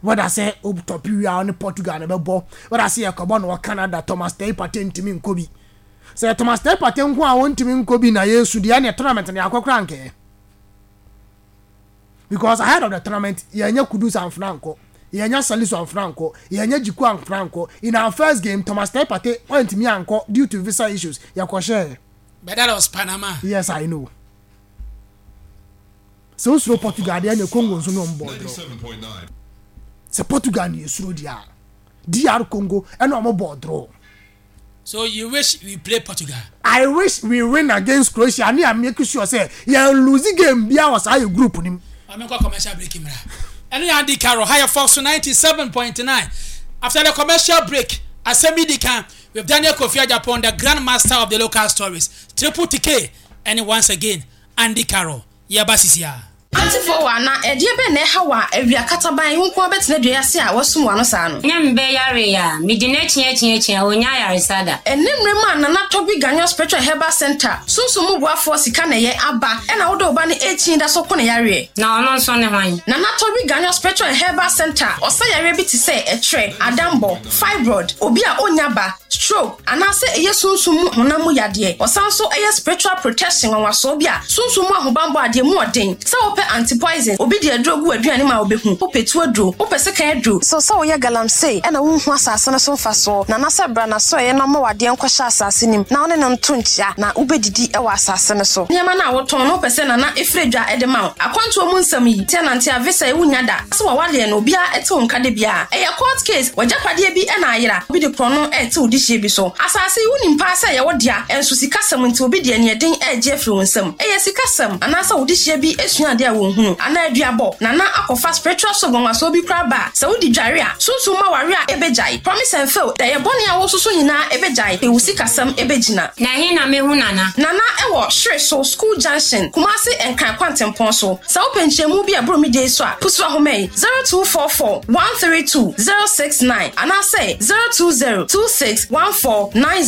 Whether sɛ o top wi a ɔne Portugal na bɛbɔ, whether sɛ yɛkɔbɔ no wɔ Canada, Thomas Teye Partey ntumi nkɔ bi. Sɛ Thomas Teye Partey nko a wɔntumi nkɔ bi na yɛsu deɛ, ɛne tournament no yɛakɔ kora nkɛɛ, because ahead of the tournament yɛnyɛ Kudus amfena nkɔ, yɛnyɛ Salisu amfena nkɔ, yɛnyɛ Djiku amfena nkɔ. In our first game, Thomas Teye Partey ɔntumi ankɔ due to visa issues, yɛkɔhyɛɛ.
But that was Panama.
Yes, I know. Sɛ wosuro Portugal deɛ, ɛne Congo nso ne ɔmo bɔɔ draw.
Ninety-seven point nine.
Sɛ Portugal ne yɛsuro deɛ a, D R Congo ɛne ɔmo bɔɔ draw.
So you wish we play Portugal?
I wish we win against Croatia ne a make sure sɛ yɛn lose game bia wɔ saa yɛ group nim.
Maame, nkɔ commercial break mra. Ɛno yɛ Andy Carroll ha yɛ Fox ninety seven point nine. After the commercial break, asɛm bi di kan with Daniel Kofi Agyapong, the grand master of the local stories, Triple T K, and once again Andy Carroll yɛba sisi a.
Auntyfoɔ wɔ ana ɛdeɛ bɛn na ɛha wɔ a awia kataban wo nko abɛtena dua ase a wasum w'ano saa no?
Na mbɛ yare a mede no akyiakyiakyia ɔnya ayaresa da.
Ɛne mmerɛ mu a Nana Tɔbi Ganyo Spiritual Herbal Center sunsum mu boafoɔ sika na ɛyɛ aba, ɛna wode wo ba no ɛkyin da so ko ne yareɛ.
Na ɔno nso ne hwan?
Nana Tɔbi Ganyo Spiritual Herbal Center ɔsa yareɛ bi te sɛ ɛtrɛ, adambɔ, fibroid, obi a ɔnya ba, stroke, anaasɛ ɛyɛ sunsum mu honam mu yadeɛ. Ɔsan so ɛyɛ spiritual protection nwanwasoɔ bi a sunsum mu ahobanbɔ adeɛ mu ɔden. Sɛ wopɛ anti-poison, obi de aduro gu aduane ma wobɛhu, wopɛ tu aduro, wopɛ sekan aduro. So sɛ woyɛ galamsey ɛna wonhu asase no so mfasoɔ, Nana sɛ bra na so ɛyɛ na ɔma wadeɛ nkɔhyɛ asase nim na wo ne no nto nkyia na wobɛdidi ɛwɔ asase no so. Nneɛma no a wotɔn no wopɛ sɛ Nana ɛfiri dwa ɛde ma wo. Akwantuo mu nsɛm yi, tia nante a visa yi wonya da. Sɛ wɔwareɛ no obiara ɛte wo nka de biara. Ɛyɛ court case, w'agyapadeɛ bi ɛna ayera, obi de korɔ no ɛte wo dehyeɛ bi so. Asase yi wonim paa sɛ ɛyɛ wo dea, ɛnso sikasɛm nti obi deɛ neɛden ɛregye afiri wo nsam. Ɛyɛ sikasɛm anaasɛ wo dehyeɛ bi esua adeɛ a wɔnhunu anaa aduabɔ. Nana akɔfa spiritual soap nwanwasoɔ bi koraa ba a, sɛ wodi dware a, sunsum ma ware a ɛbɛgyae. Promise and fail, ɛyɛ bɔne a wososo nyinaa ɛbɛgyae, ewu sikasɛm ɛbɛgyina.
Na ɛhe na mehu Nana?
Nana ɛwɔ Hyere so School Junction, Kumasi Nkran Kwantempɔn so. Sɛ wopɛ nkyɛnmu bi a ɛboro me deɛ yi so a, pusu ahoma yi zero two four four one three two zero six nine anaasɛ zero two zero two six one four nine zero.